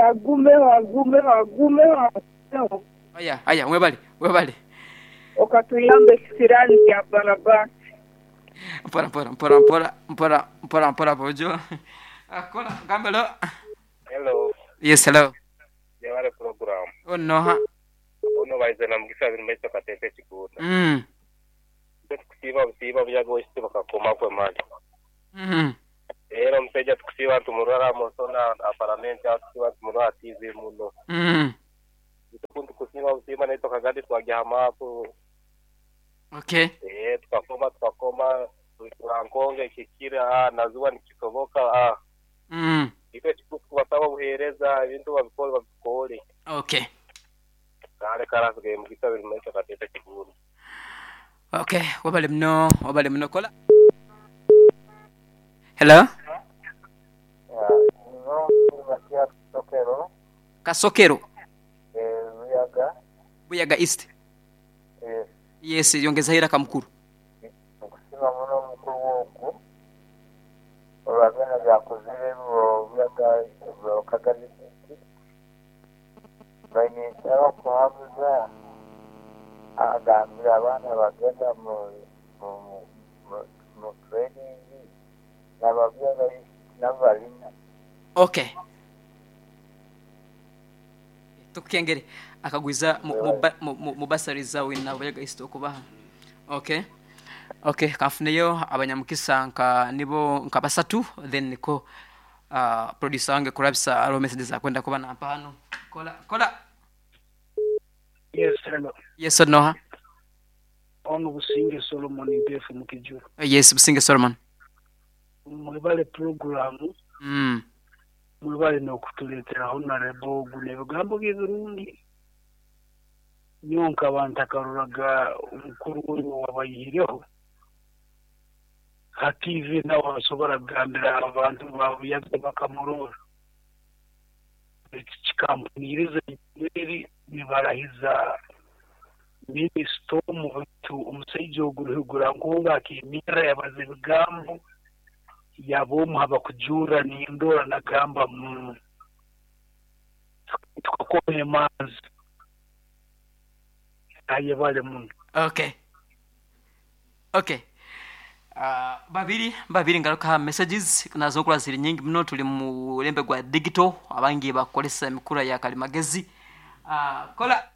Agumeho agumeho agumeho agumeho. Aya aya webale webale. Okatuyamba ekisirani kya Barabasi. Mpora mpora mpora mpora mpora mpora mpora bojo. Kola gambe hello. Hello. Yes, hello. Yebale program. Ono noha? Ono baize na Mugisa Birimaisho Kateete Kiguuda. Itwe tukusiiba busiiba Buyaga owaitu bakakomaku emali. Era omusaija tukusiiba nitumurora aha musona aha paramenti aho tukusiiba nitumurora aha TV muno. Itwe ku nitukusiima busiima naitwe Kagadi twagya aha maapu. Okay. Eeh tukakoma tukakoma Lwankonge ekihikire aah naziwa nikisoboka aah. Itwe ekikuru tukubasaba obuhereza ebintu babikore babikore. Okay. Kale kale hasigaire Mugisa Birimaisho Kateete Kiguuda. Okay, webale muno, webale muno kola. Hello. Kasokero. Buyaga East. Yes, yongezayo eiraka mukulu. Nkusiima muno mukulu ogu olwa byona byakozire olwa Kagadi District. Mbaire ninsaba kuhabuza agambire abaana abagenda mu training naba Buyaga East nabo barimu. Okay. Tukukengere akagwiza mu bursary za wina Buyaga East okubaha. Okay. Okay, kanfuneyo abanyamukisa nka nibo nka basatu then niko uh, producer wange kurabisa hariho messages akwenda kuba nampa hanu. Kola kola. Yes, hello. Yes, noha? Ono Businge Solomon Mpeefu Mukijuru. Yes, Businge Solomon. Mwebale pulogulaamu, mwebale n'okutuleetera Honarebo ogu n'ebigambo bye ebirungi. Nyowe nkaba ntakaroraga omukuru ogu owabaihireho ha tiivi nawe asobora kugambira abantu ba Buyaga bakamurora. Eki kikampuniiriza eri nibarahiza minisita omu baitu omusaija ogu Ruhigurankungu akeemerra yabaza ebigambo yaba omu ha bakujurra nindora nagamba mu tukakoma emanzi. Ayebale muno. Okay. Okay. Babiri babiri ngaruka aha messages nazo nkura ziri nyingi muno tuli mu mulembe gwa digital abangi bakukoresa emikura ya karimagezi. Kola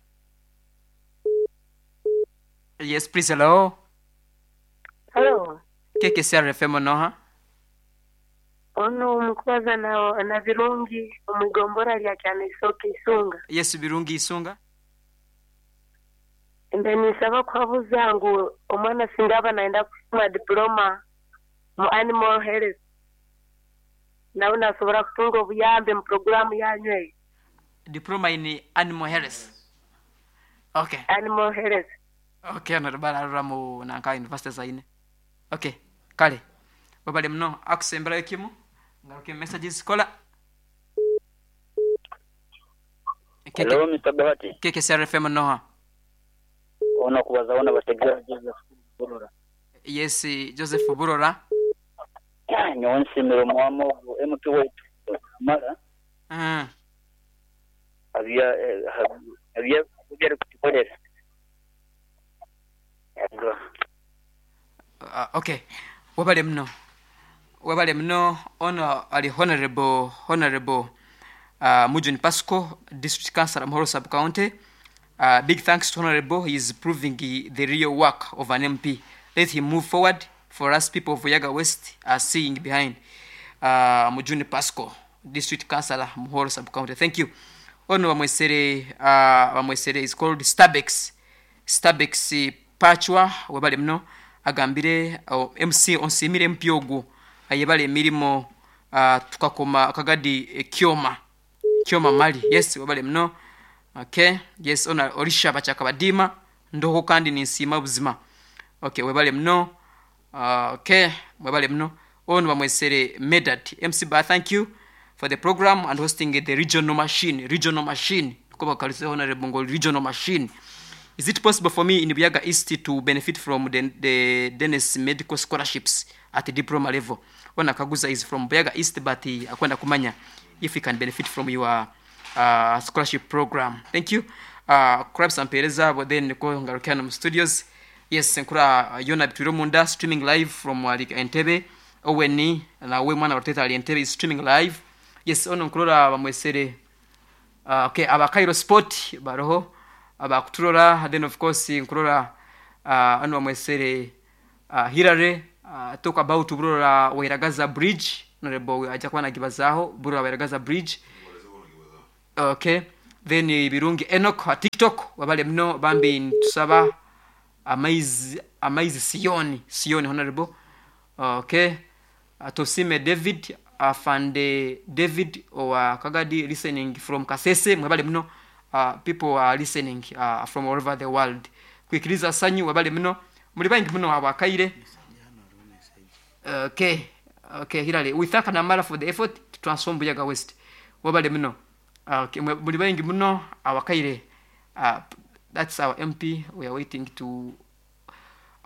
Yes please hello. Hello. KKCR FM noha? Ono mukubaza na, na Birungi omu igombora lya Kyanaisoke Isunga. Yes Birungi Isunga. Mbe ninsaba kuhabuza ngu omwana singa aba nayenda kushoma diploma mu animal health nawe nasobora kutunga obuyambi mu puroguramu yanyu eyo? Diploma in animal health. Okay. Animal health. Okay honorable ararora mu nanka university zaine. Okay kale webale muno akusemberayo kimu ngaruke messages kola. Hello Mister Bahati. KKCR FM noha? Ono kubaza wona Bategera Joseph Burora. Yes Joseph Burora. Nyowe nsiimire omwami ogu MP waitu Wamala ahabya arikutukorera. Okay webale muno webale muno ono ali honorable honorable uh, Mujuni Pasco district councillor Muhoro sub county uh, big thanks to honorable he is proving the real work of an MP let him move forward for us people of Buyaga West are seeing behind uh, Mujuni Pasco district councillor Muhoro sub county thank you ono bamwesere uh, bamwesere is called Starbex Starbex Pachwa webale muno agambire oh, MC onsiimire MP ogu ayebale emirimo uh, tukakoma akagadi eh, Kyoma Kyoma Mali yes webale muno okay yes ona Orisha Bachakabadiima ndoho kandi ninsiima buzima okay webale muno uh, okay webale muno ono bamwesere Medard MC Ba thank you for the program and hosting the regional machine regional machine niko bakarize honorable ngo regional machine is it possible for me in Buyaga East to benefit from the, the Dennis medical scholarships at the diploma level ona kaguza is from Buyaga East but uh, akwenda kumanya if he can benefit from your uh, scholarship program thank you uh, kurabisa mpereza but then niko ngaruke hano mu studios yes nkura uh, yona bitwire munda streaming live from uh, Entebbe Owen nawe mwana wa Rutete ali Entebbe is streaming live. Yes, ono nkurora bamwesere okay, aba Cairo Sport baroho abakuturora, then of course nkurora ano bamwesere Hillary talk about Burora Wairagaza Bridge. Honorable ajja kuba nagibazaho Burora Wairagaza Bridge. Okay, then Birungi Enoch ha TikTok wabale muno bambi ntusaba amaizi amaizi Sioni Sioni honorable. Okay, Tosime David Afande David owa Kagadi listening from Kasese mwebale muno. People are listening from all over the world. Kwikiriza sanyu wabale muno muli baingi muno abakaire. Okay, okay, Hillary, we thank Namara for the effort to transform Buyaga West. Wabale muno. Okay, muli baingi muno abakaire. That's our MP. We are waiting to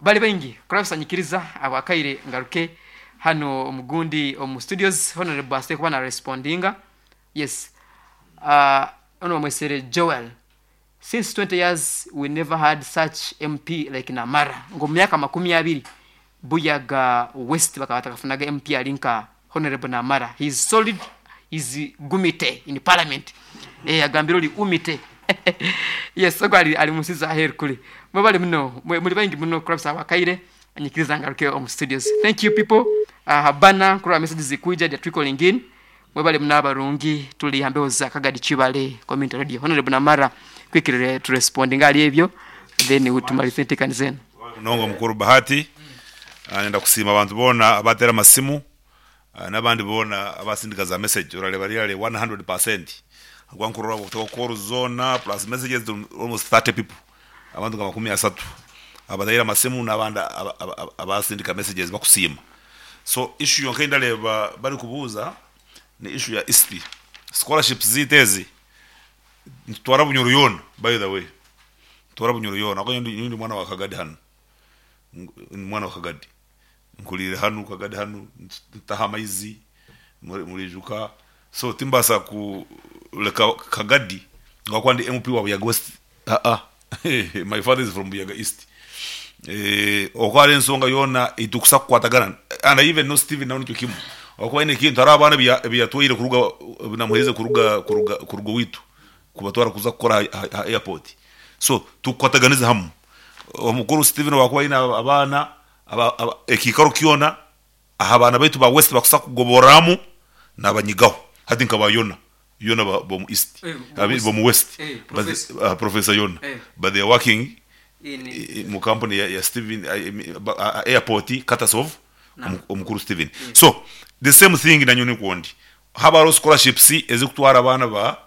bali baingi kurabisanyikiriza abakaire ngaruke hano omugundi omu studios honorable ase kuba na respondinga. Yes, ono mwesere Joel, since 20 years we never had such MP like Namara. Ngo myaka 20 Buyaga West bakaba batakafunaga MP alinka honorable Namara. He is solid, he is gumite in parliament. Agambiro li umite. Yes, ogwo ali musiza aheru kuri mwebale muno muli baingi muno kurabisa abakaire anyikiriza ngaruke omu studios. Thank you people. Habana kuraba messages zikuija they trickling in. Mwebale muno abarungi tuli hambeho za Kagadi Kibale Community Radio. Honorable Namara quickly to respond ngali ebyo then utumalize ntekanizeni. Nongo mukuru Bahati nenda kusiima abantu bona abatera amasimu n'abandi bona abasindika za message orareba riri 100% agwankurora kutoka call zona plus messages to almost 30 people abantu nka 30 abadaira amasimu n'abandi abasindika messages bakusiima. So issue yonka ndareba bari kubuuza ni issue ya ISP scholarships zitezi ntwara Bunyoro yona, by the way ntwara Bunyoro yona ako ndi mwana wa Kagadi hano, mwana wa Kagadi nkulire hano Kagadi hano ntaha amaizi murijuka. So timbasa kuleka Kagadi ngakwa ndi MP wa Buyaga West. My father is from Buyaga East. Okwari ensonga yona itukusa kukwatagana and I even know Steven nawe nikyo kimwe okuba ine kintu hari abaana biyatwaire kuruga namuheze kuruga kuruga kuruga witu kubatwara kuza kukora ha airport. So tukwataganiza hamwe omukuru Steven wakuba ine abaana ekikaro kyona aha abaana baitu ba West bakusa kugoboramu nabanyigaho hati nkaba yona yona bomu East bomu West Professor Yona but they are working mu company ya Steven airport Katasov omukuru Steven. So the same thing nanyo nikundi habaro scholarships ezikutwara abaana ba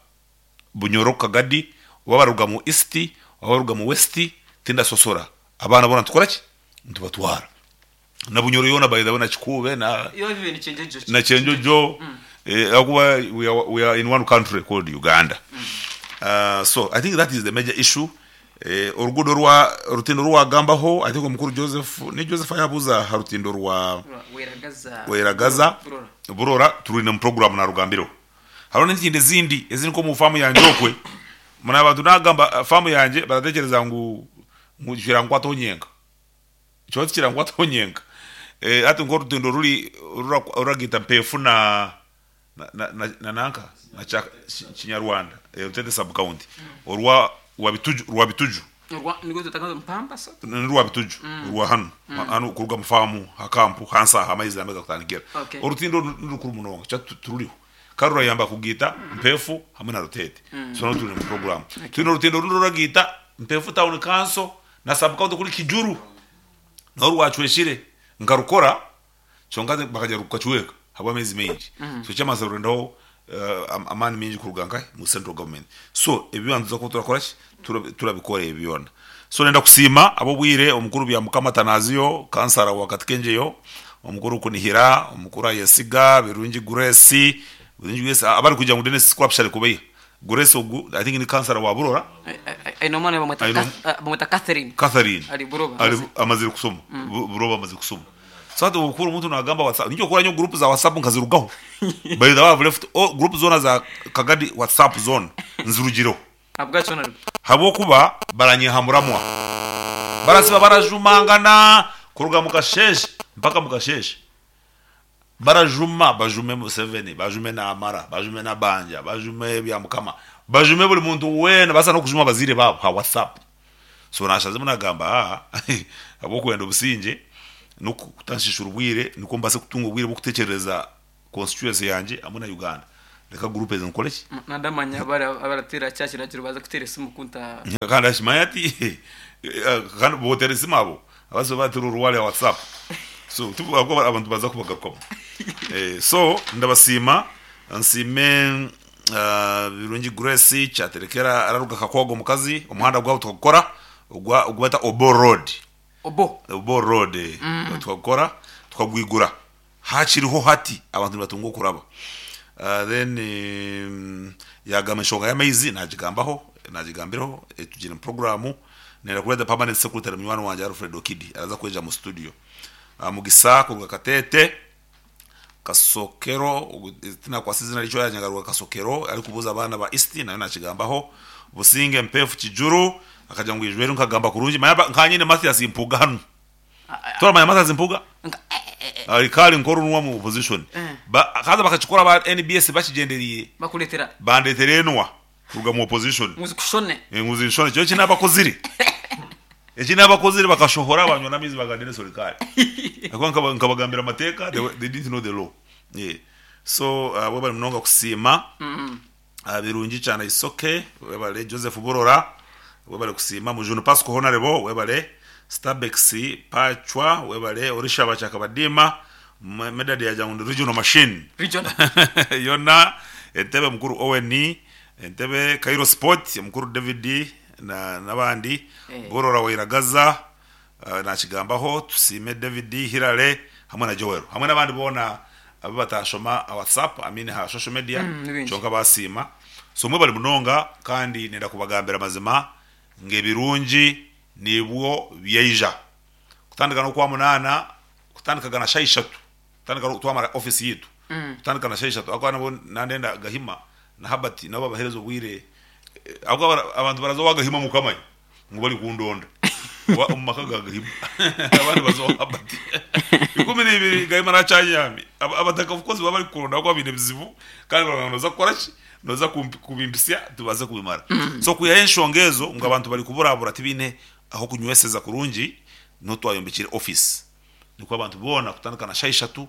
Bunyoro Kagadi oba baruga mu East oba baruga mu West tindasosora abaana bona tukora ki ntubatwara na Bunyoro yona by the way na Kikube na na Kyenjojo. Akuba we are in one country called Uganda. So I think that is the major issue. Orugudo rwa rutindo rwa gambaho I think omukuru Joseph ni Joseph ayabuza harutindo rwa Weragaza Burora turi mu program na rugambiro. Haro n'izindi zindi eziri ko mu famu yanje okwe muna abantu nagamba famu yanje baratekereza ngu ngukirangwa tonyenga cyo kirangwa tonyenga ati ngo rutindo ruri ruragita mpefu na na nanka na Kinyarwanda Rutete sub county orwa wabituju rwabituju rwabituju rwa hano hano kuruga mufamu hakampu hansa hamaizi ameza kutandikira orutindo rukuru munonga cha tururiho karura yamba kugita mpefu hamwe na Rutete. So no turi mu program turi rutindo ruragita mpefu town council na sub county kuri Kijuru no rwacweshire ngarukora cyonga bakajya rukacuweka haba amezi menshi. So cyamaze rurendaho amani menshi kuruganka mu central government. So ebibanza ko turakora turabikora ebiyona. So nenda kusima abo bwire omukuru bya Mukama Tanazio kansara wakati kenjeyo omukuru kunihira omukuru ayesiga Birungi Grace Birungi Grace abari kujya mu Dennis Squapshare kubeya Grace ogu I think ni kansara wa Burora ino mwana bamweta Catherine ali Buroba ali amazire kusoma Buroba amazire kusoma. So hata ukuru mtu nagamba WhatsApp nijo kora nyo group za WhatsApp nkazirugaho. By the way I've left all group zona za Kagadi WhatsApp zone nzurugiro abwacho habo kuba baranyihamuramwa barasiba barajumangana kuruga mukasheshe mpaka mukasheshe. Barajuma bajume Museveni, bajume Namara, bajume Nabanja, bajume Byamukama, bajume buri muntu weena, babaasa n'okujuma abazaire baabo aha WhatsApp. So naashazemu naagamba haa ahabw'okwenda obusingye n'okutanshiishura obwire nikwo mbaase kutunga obwire bw'okutekyerereza constituency yangye hamwe na Uganda. Reka group ezi nkore ki? Nandamanya abarateera kya kiragiro baaza kuteera esimu kunta. Kandi akimanya ati kandi boteera esimu abo abazibe bateera oruwaari aha WhatsApp so ahabw'okuba abantu baza kubagarukamu. So ndabasiima nsiime Birungi Grace Kyaterekera araruga Kakoogo omukazi omuhanda gwabo tukagukora ogwa ogu beeta Obor Road. Obo. Obor Road tukagukora tukagwigura. Hakiriho hati abantu nibatunga okuraba. Then yagamba enshonga y'amaizi nagigambaho nagigambireho tugire omu puroguramu nenda kureeta permanent secretary munywani wangye Alfred Okidi araza kwija omu studio. Mugisa kuruga Kateete, Kasokero tinakwasa eizina rye yagira ngu aruga Kasokero arikubuuza abaana ba East nayo nakigambaho. Businge Mpeefu Kijuru akagira ngu ijweri nkagamba kurungi manya nkanye nyine Mathias Mpuuga hanu. Toramanya Mathias Mpuuga? Ari kare nk'orunwa mu opposition. Ba, haza bakakikora aba NBS bakigyendereire. Bakureetera. Bandeetera enwa kuruga mu opposition. Ngu zikushone. Ngu zinshone. Kyo eki nabakozire. Eki nabakozire bakashohora banywa n'amaizi bagamba Denis Orikare. Ahakuba nkaba nkabagambira amateeka they, they didn't know the law. Yeah. So uh, webale munonga kusiima. Birungi kyana Isoke webale, Joseph Burora webale kusiima, Mujuni Pasco Honarebo webale, Stabex Pachwa webale, Orishaba Kyakabadiima, Medard yagira ngu ndi regional machine Regional. yona, Entebe mukuru Owen, Entebe Cairo Sport mukuru David na nabandi, Burora Wairagaza Nakigambaho, Tusiime David, Hillary hamwe na Joel hamwe n'abandi boona abu batashoma aha WhatsApp, I mean aha social media Ni baingi. kyonka basiima. So mwebare munonga kandi nenda kubagambira amazima ngu ebirungi nibwo byaija kutandika n'Okwamunaana kutandikaga na shaaha ishatu kutandika twamara office yaitu kutandika na shaaha ishatu ahakuba nabwo nandenda Gahima na Herbert nabo babahereze obwire ahakuba abantu baraza owa Gahima mukamanya. Ngu bari kundonda oba omu maka ga Gahima abandi baza owa Herbert. 12 Gahima nakyanyami. Abataka of course baba bari kukuronda ahakuba baine ebizibu kandi baragira ngu noza kukora ki? Noza kubimpitsya tubaase kubimara. So kwihaho enshonga ezo ngu abantu bari kuburabura tibaine ah'okunyweseza kurungi, niho twayombekire office. Nikwo abantu boona kutandika na shaaha ishatu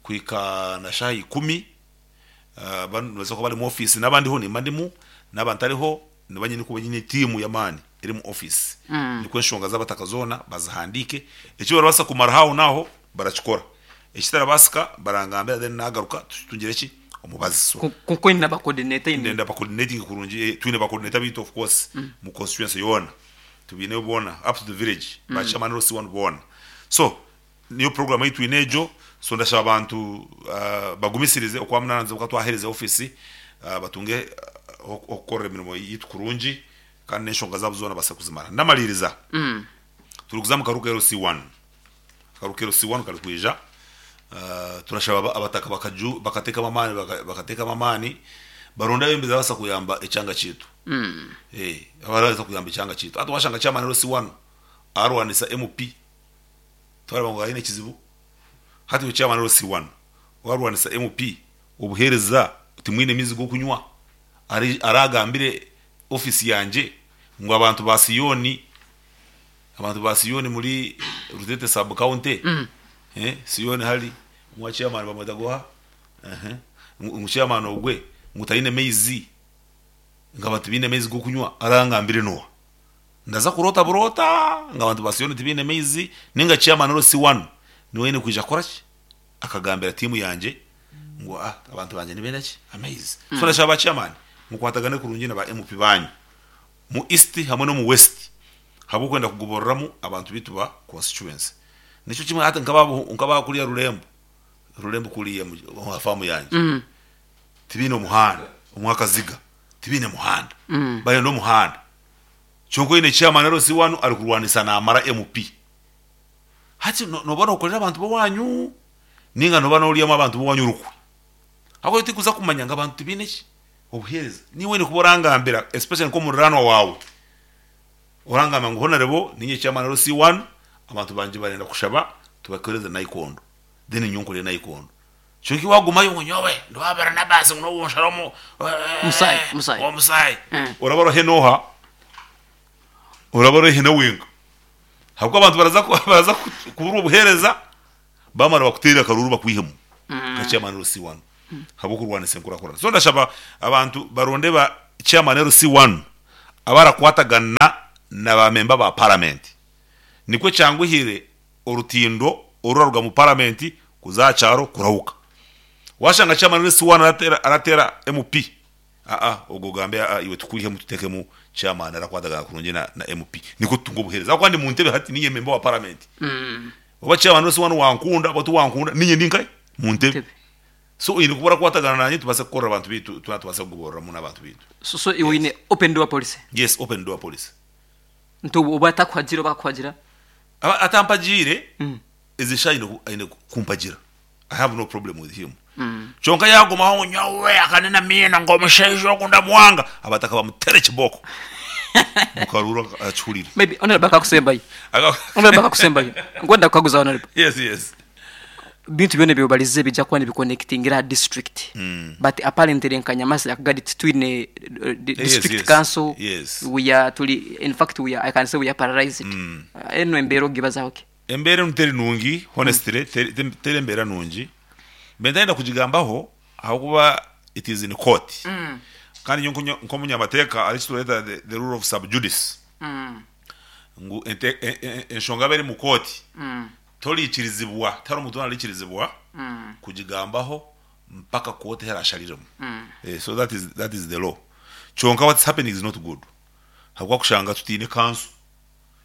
kuhika na shaaha ikumi nibabaasa kuba bari omu office naaba ndiho nimba ndimu naaba ntariho Niba nyine kuba nyine tiimu y'amaani eri omu ofiisi nikwo enshonga z'abataka zoona bazihandiike. Eki barabaasa kumaraho aho n'aho barakikora, ekitarabaasika barangambira then naagaruka tutungire ki? Omubazi. So Kwonka oine ba coordinator oine. Ndenda ba coordinating kurungi, twine ba coordinator baitu of course mu constituency yoona tubaineyo boona up to the village, ba chairman LC1 boona. So Niyo puroguramu ei twine egyo, so ndashaba abantu bagumisirize okwamunaana niza kuba twahereza ofiisi batunge ah'okukorera emirimo yaitu kurungi kandi n'enshonga zaabo zoona babaase kuzimara. Ndamariiriza, turikuza omu karuka LC1, akaruka LC1 karikwija, turashaba abataka bakateekamu amaani bakateekamu amaani baronde abebembezi ababaasa kuyamba ekyanga kyaitu, ababaasa kuyamba ekyanga kyaitu. Hati washanga chairman LC1 arwanisa MP. Twareba ngu aine ekizibu. Hati iwe chairman LC1 warwanisa MP obuhereza timwine maizi gokunywa aragambire office yangye ngu abantu ba Sioni abantu ba Sioni muri Rutete sub county Sioni hari ngu chairman bamweta goha ngu chairman ogwe ngu taine maizi ngu abantu tibaine maizi gokunywa arangambire noha? Ndaza kuroota buroota ngu abantu ba Sioni tibaine maizi, nainga chairman ori C1 niwe aine kwija kukora ki? Akagambira tiimu yangye ngu ah abantu bangye nibenda ki? Amaizi. So ndashaba ba chairman mukwatagane kurungi na ba MP banyu mu East hamwe n'omu West ahabw'okwenda kugoboreramu abantu baitu ba constituency. Nikyo kimwe hati nk'aba kuriya Rurembo, Rurembo kuriya aha faamu yangye tibaine omuhanda, omu Akaziga tibaine muhanda, barenda omuhanda. Kyonka oine chairman LC wanu ari kurwanisa namara MP. Hati noba nokorera abantu bowanyu ninga noba noryamu abantu bowanyu orukwe. Ahabw'okuba tikuza kumanya ngu abantu tibaine ki? Obuhereza. Niiwe oine kuba orangambira especially nk'omuriranwa waawe. Orangambira ngu Honourable ninye chairman LC wanu abantu bangye barenda kushaba tubakoreze naikondo. Then nyowe nkorere naikondo. Kyonka iwe wagumayo ngu nyowe ndi owa Baranabasi ngu n'obu onshara omu Omusaayi, omusaayi. omusaayi. Oraba ori haihi n'oha? Oraba ori haihi na wenka. Ahabw'okuba abantu baraza baraza kuburwa obuheereza bamara bakuteerere akaruuru bakwihemu nka chairman LC1 ahabw'okurwanisa enkurakurana. So ndashaba abantu baronde ba chairman LC1 abarakwatagana na ba memba ba paramenti nikwo kyanguhire orutindo oruraruga mu paramenti kuza aha kyaro kurahuka. Washanga chairman LC1 aratera aratera MP aa ogwo ogambe aa iwe tukwihemu tutekemu chairman arakwatagana kurungi na na MP nikwo tutunge obuhereza ahabw'okuba ndi muntebe hati ninye member wa paramenti oba chairman LC1 wankunda oba tiwankunda ninye ndi nkahi muntebe so oine kuba orakwatagana nanye tubaase kukorera abantu beitu twena tubaase kugoboreramu n'abantu beitu. So so iwe oine open door policy? Yes open door policy. Nti oba atakuhagira oba akakuhagira? Aba atampagiire ezi shaaha aine aine kumpagira I have no problem with him kyonka yaagumaho ngu nyowe akanena amiino ngu omushaija ogu ndamwanga abataka bamutere ekibooko mukaruuru akihurire. Maybe honourable akakusembayo. Honourable akakusembayo. Nkwenda kukaguza honourable. Yes yes. Bintu byona ebi obalize bija kuba nibiconnectingira aha district but apparently nka Nyamasi Akagari titwine district yes, council yes. we are turi in fact we are, I can say we are paralyzed. Enu embeera ogibazaho ki? Embeera enu teri nungi honestly teri teri embeera nungi mbe ntayenda kugigambaho ahabw'okuba it is in court kandi nyowe nkonya nk'omunyamateeka hariho eki tureeta the the rule of sub judice ngu ente enshonga yaaba eri mu kooti Toriikirizibwa, tihariho omuntu weena ariikirizibwa kugigambaho mpaka kooti ahu erashariremu. So that is, that is the law. Kyonka what's happening is not good. Ahabw'okuba kushanga tutaine council.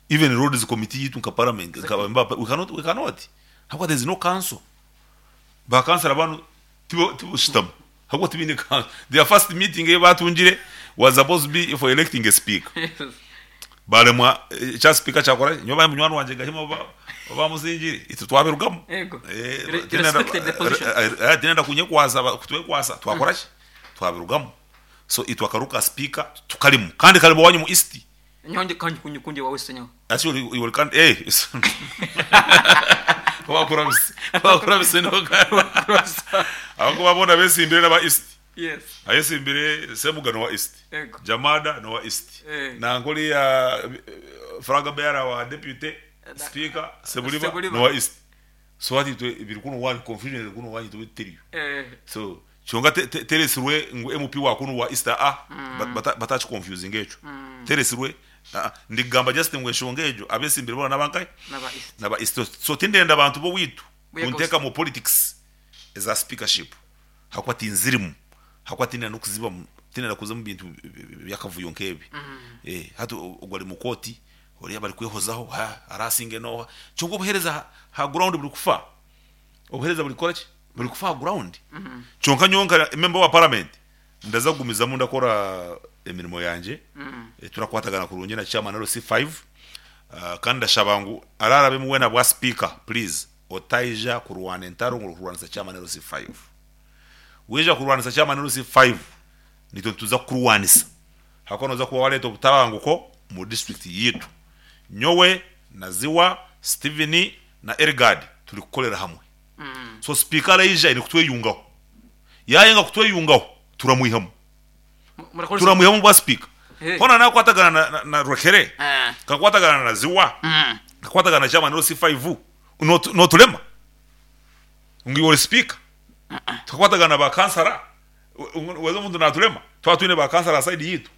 Even roads committee yaitu nka parliament, nka ba member ba we cannot, we cannot. Ahabw'okuba there is no council. Ba councillor banu tibo tiboshutama ahabw'okuba tibaine council. Their first meeting ei batungire was supposed to be for electing a speaker. Baremwa ekya speaker kyakora ki? Nyowe bahe munywani wangye Gahima oba bamusingire itwe twabirugamu. Yego. Eh, Re- tinenda- respected the position. eh, eh, tinenda kunyekwasa kutwekwasa twakora ki? Twabirugamu. So itwe akaru ka speaker tukarimu kandi karimu owanyu mu East. Nyowe ndi kandi kunye kundi wa West nyowe. Actually iwe ori kandi eh wakurabise wakurabise noga. Ahabw'okuba boona besimbire n'aba East. Yes. Ayesimbire Semuga n'owa East. Ego. Jamada n'owa East. Eh. Nanka oriya flag bearer wa deputy speaker Sebuliba Sebuliba. n'owa East. So hati itwe biri kunu owanyu confusion eri kunu owanyu itwe teriyo. Eh. So kyonka te- te- teresirwe ngu MP wa kunu wa East aa batakiconfusinga ekyo. Teresirwe aa ndigamba just ngu enshonga egyo abesimbire boona n'abankahi? N'aba East. N'aba East. So tindenda bantu b'oweitu Bwega kunteeka mu politics eza speakership. Ahakuba tinzirimu, ahakuba tindenda n'okuzibamu, tindenda kuza omu bintu by'akavuyo nk'ebi. Hati ogwo ari mu kooti, oriya barikwehozaho, ha araasinge n'oha. Kyonka obuheereza aha ground burikufa, obuheereza burikukora ki? Burikufa aha ground. Kyonka nyowe nka member wa parliament, ndaza kugumizamu ndakora emirimo yangye, turakwatagana kurungi na chairman LC5, kandi ndashaba ngu araarabemu weena abwa sipiika, please. Otaija kurwana entaro ngu orikurwanisa chairman LC5. Waija kurwanisa chairman LC5 nitwe nituza kukurwanisa ahakuba noza kuba wareeta obutabanguko omu district yaitu. Nyowe, Naziwa, Steven na Elgard turi kukorera hamwe. So sipiika araija aine kutweyungaho. Yayenga kutweyungaho turamwihamu. Turamwihamu bwa sipiika. Hoona nakwatagana na, na Rwekere, nkakwatagana na Naziwa, nkakwatagana na chairman LC5 Noturema ngu iwe ori sipiika? Tukakwatagana na ba kansara, weza omuntu naturema? Twaba twine ba kansara aha sayidi yaitu.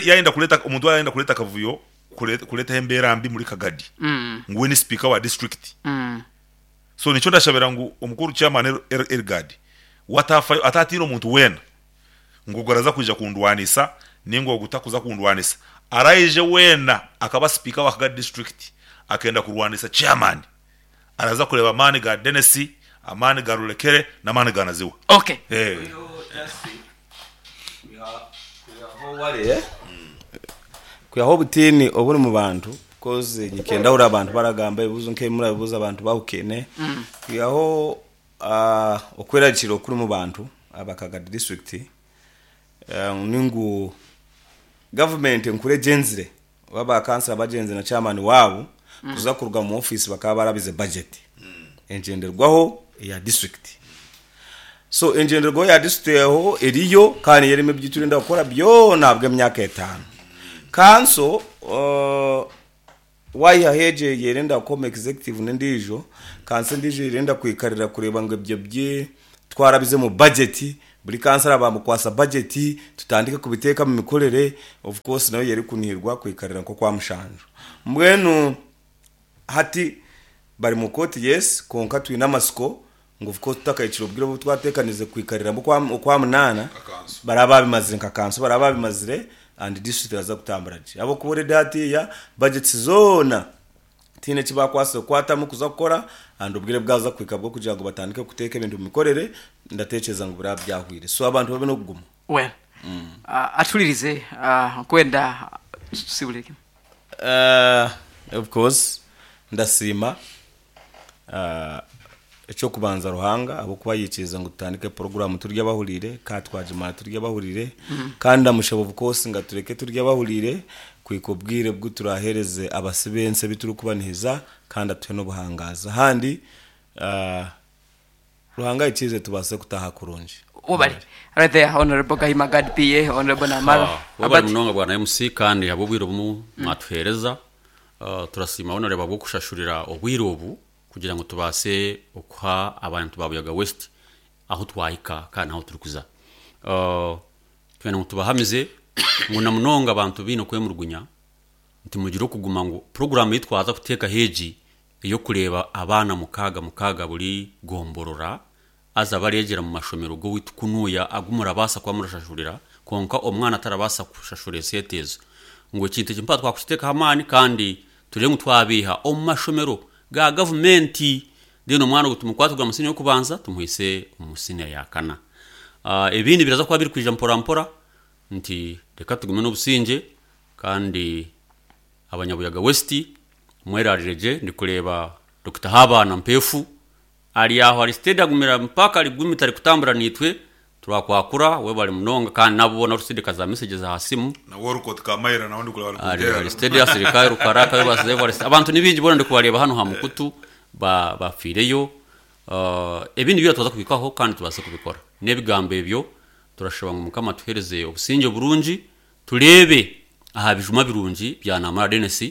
Yayenda kureta omuntu yayenda kureta akavuyo kuretaho embeera mbi muri Kagadi ngu we ni sipiika wa disiturikiti. So nikyo ndashabira ngu omukuru chairman Elgard we atafayo atatiina omuntu weena ngu ogu araza kwija kundwanisa ninga ogu takuza kundwanisa. Araije weena akaba sipiika wa Kagadi disiturikiti akenda kurwanisa chairman araza kureeba amaani ga Denis, amaani ga Rurekere n'amaani ga Naziwa. Okay. Kwihaho obutiini oburi mu bantu coz nyikenda hurira abantu baragamba ebibuzo nk'ebi murabibuza abantu bahukaine. Kwihaho Okwerarikirira okuri omu bantu aba Kagadi disiturikiti ni ngu gavumenti enkuru egyenzire oba ba kansara bagyenzire na chairman waabo kuza kuruga omu ofiisi bakaba barabize bajeti. Engyenderwaho eya disiturikiti. So engyenderwaho ya disiturikiti eho eriyo kandi niyo erimu ebi turenda kukora byona ahabw'emyaka etaano. Kanso waihaho egyo eyerenda kukoma executive n'endiijo, kanso endiijo eyerenda kwikarira kureeba ngu ebyo bi twarabize omu budget, buri kansara bamukwasa budget tutandike kubiteeka omu mikorere, of course nayo erikunihirwa kwikarira nk'okwa mushanju. Mbwenu Hati bari mu kooti yes kwonka twine amatsiko ngu of course tutakahikire obwire obu twateekanize kwikariramu okwa munaana baraba babimazire nka kanso baraba babimazire and district eraza kutambura gye ahabw'okuba already hatiiya budgets zoona tihaine eki baakwatsire kukwatamu kuza kukora and obwire bwaza kuhika bw'okugira ngu batandike kuteeka ebintu omu mikorere ndateekyereza ngu biraba byahwire so abantu babe n'okuguma. Well, atuhuririze nkwenda tusibure kimwe. Of course ndasiima eky'okubanza Ruhanga ahabw'okuba yaikiriza ngu tutandike puroguraamu turi abahuriire kandi twagimara turi abahuriire kandi ndamushaba of course ngu atureke turi abahuriire kuhika obwire obu turaaheereze abasi b'ensi ebi turikubanihiza kandi atuhe n'obuhangaazi. Ahandi Ruhanga aikirize tubaase kutaaha kurungi. Webale. Right there, Honorable Gahima Gad PA, Honorable Namara. Webale Albert. munonga bwana MC kandi ahabw'obwire obu mwatuheereza. Turasiima Honorable ahabw'okushashurira obwire obu kugira ngu tubaase okuha abantu ba Buyaga West ahu twahika kandi n'ahu turikuza. Twenda ngu tubahamize ngu na munonga abantu baine okwemurugunya nti mugire okuguma ngu puroguraamu ei twaza kuteekaho egi ey'okureeba abaana mukaaga mukaaga buri gomborora, haza bareegyera mu mashomero g'owaitu kunuuya agu murabaasa kuba murashashurira, kwonka omwana tarabaasa kushashura esente ezo. Ngu ekintu eki mpaha twakukiteekaho amaani kandi tureebe ngu twabaiha omu mashomero ga gavumenti, then omwana ogwo tumukwate kuruga mu siniya y'okubanza tumuhise omu siniya ya kana. Ebindi biraza kuba birikwija mpora mpora nti reka tugume n'obusingye kandi Abanyabuyaga West mwerarire gye ndikureeba Dokita Habaana Mpeefu ari aho ari steady agumire mpaka ari gumite ari kutambura naitwe turakwakura webare munonga kandi naabo boona orikusindika za messages aha simu Na Wolcott Kamaira nawe ndikureeba ari arikuteerana. ari steady asirika Rukara akabebaza ari steady abantu ni baingi boona ndikubareeba hanu aha mukutu ba bafiireyo ebindi byona twaza kubihikaho kandi tubaase kubikora n'ebigambo ebyo turashaba ngu Mukama atuheereze obusingye burungi Tureebe aha bijuma birungi bya Namara Denis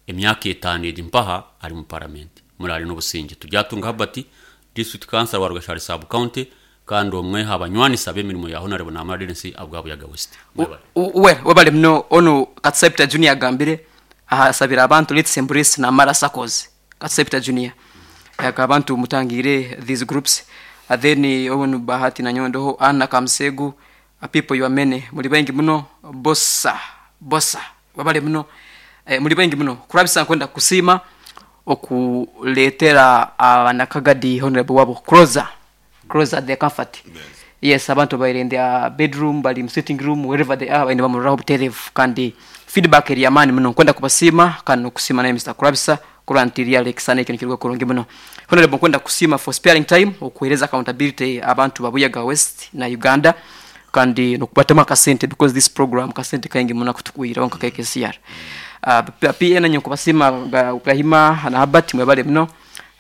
emyaka etaano egi mpaha ari mu paramenti. Muraare n'obusingye. Turyatunga Herbert, District Councillor wa Rweshari Sub County kandi omwe aha banywanisa b'emirimo ya Honarebo Namara Denis abwa Buyaga West. Mwebare. Well webale muno onu Katsai Peter Junior agambire aha asabire abantu let's embrace Namara Saccos Katsai Peter Junior aka abantu mutangiire these groups then onu Bahati nanyowe ndoho Anna Kamusegu People you are many muri baingi muno bosa bosa webale muno eh, muri baingi muno kurabisa nkwenda kusiima okuletera abanakagadi honorable wabo closer closer their comfort yes abantu babaire in their bedroom bari mu sitting room wherever they are baine bamururaho buterevu kandi feedback eri yamaani muno nkwenda kubasiima kandi nokusiima naye Mister Kurabisa kurora nti really ekisani ekyo nikiruga kurungi muno Honorable nkwenda kusiima for sparing time okuhereza accountability abantu ba Buyaga West na Uganda kandi nokubatamu akasente because this program kasente kaingi muno akutukwiraho nka KKCR. PA nanye nkubasiima Gahima na Herbert mwebale muno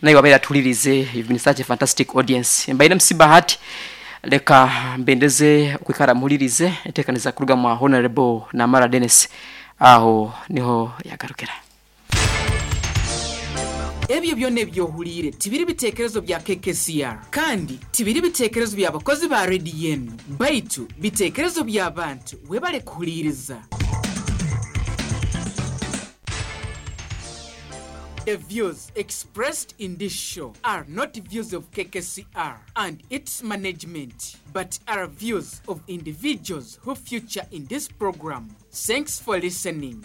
naiwe abaire atuhuririize you've been such a fantastic audience. Mbaire MC Bahati leka mbendeze okwikara muhuririize entekaniza kuruga mwa Honorable Namara Dennis aho niho yagarukira. Ebyo byona ebi ohuliire tibiri bitekerezo bya KKCR kandi tibiri bitekerezo by'abakozi ba rediyo enu, baitu bitekerezo by'abantu. Webale kuhuliiriza. The views expressed in this show are not views of KKCR and its management, but are views of individuals who feature in this program. Thanks for listening.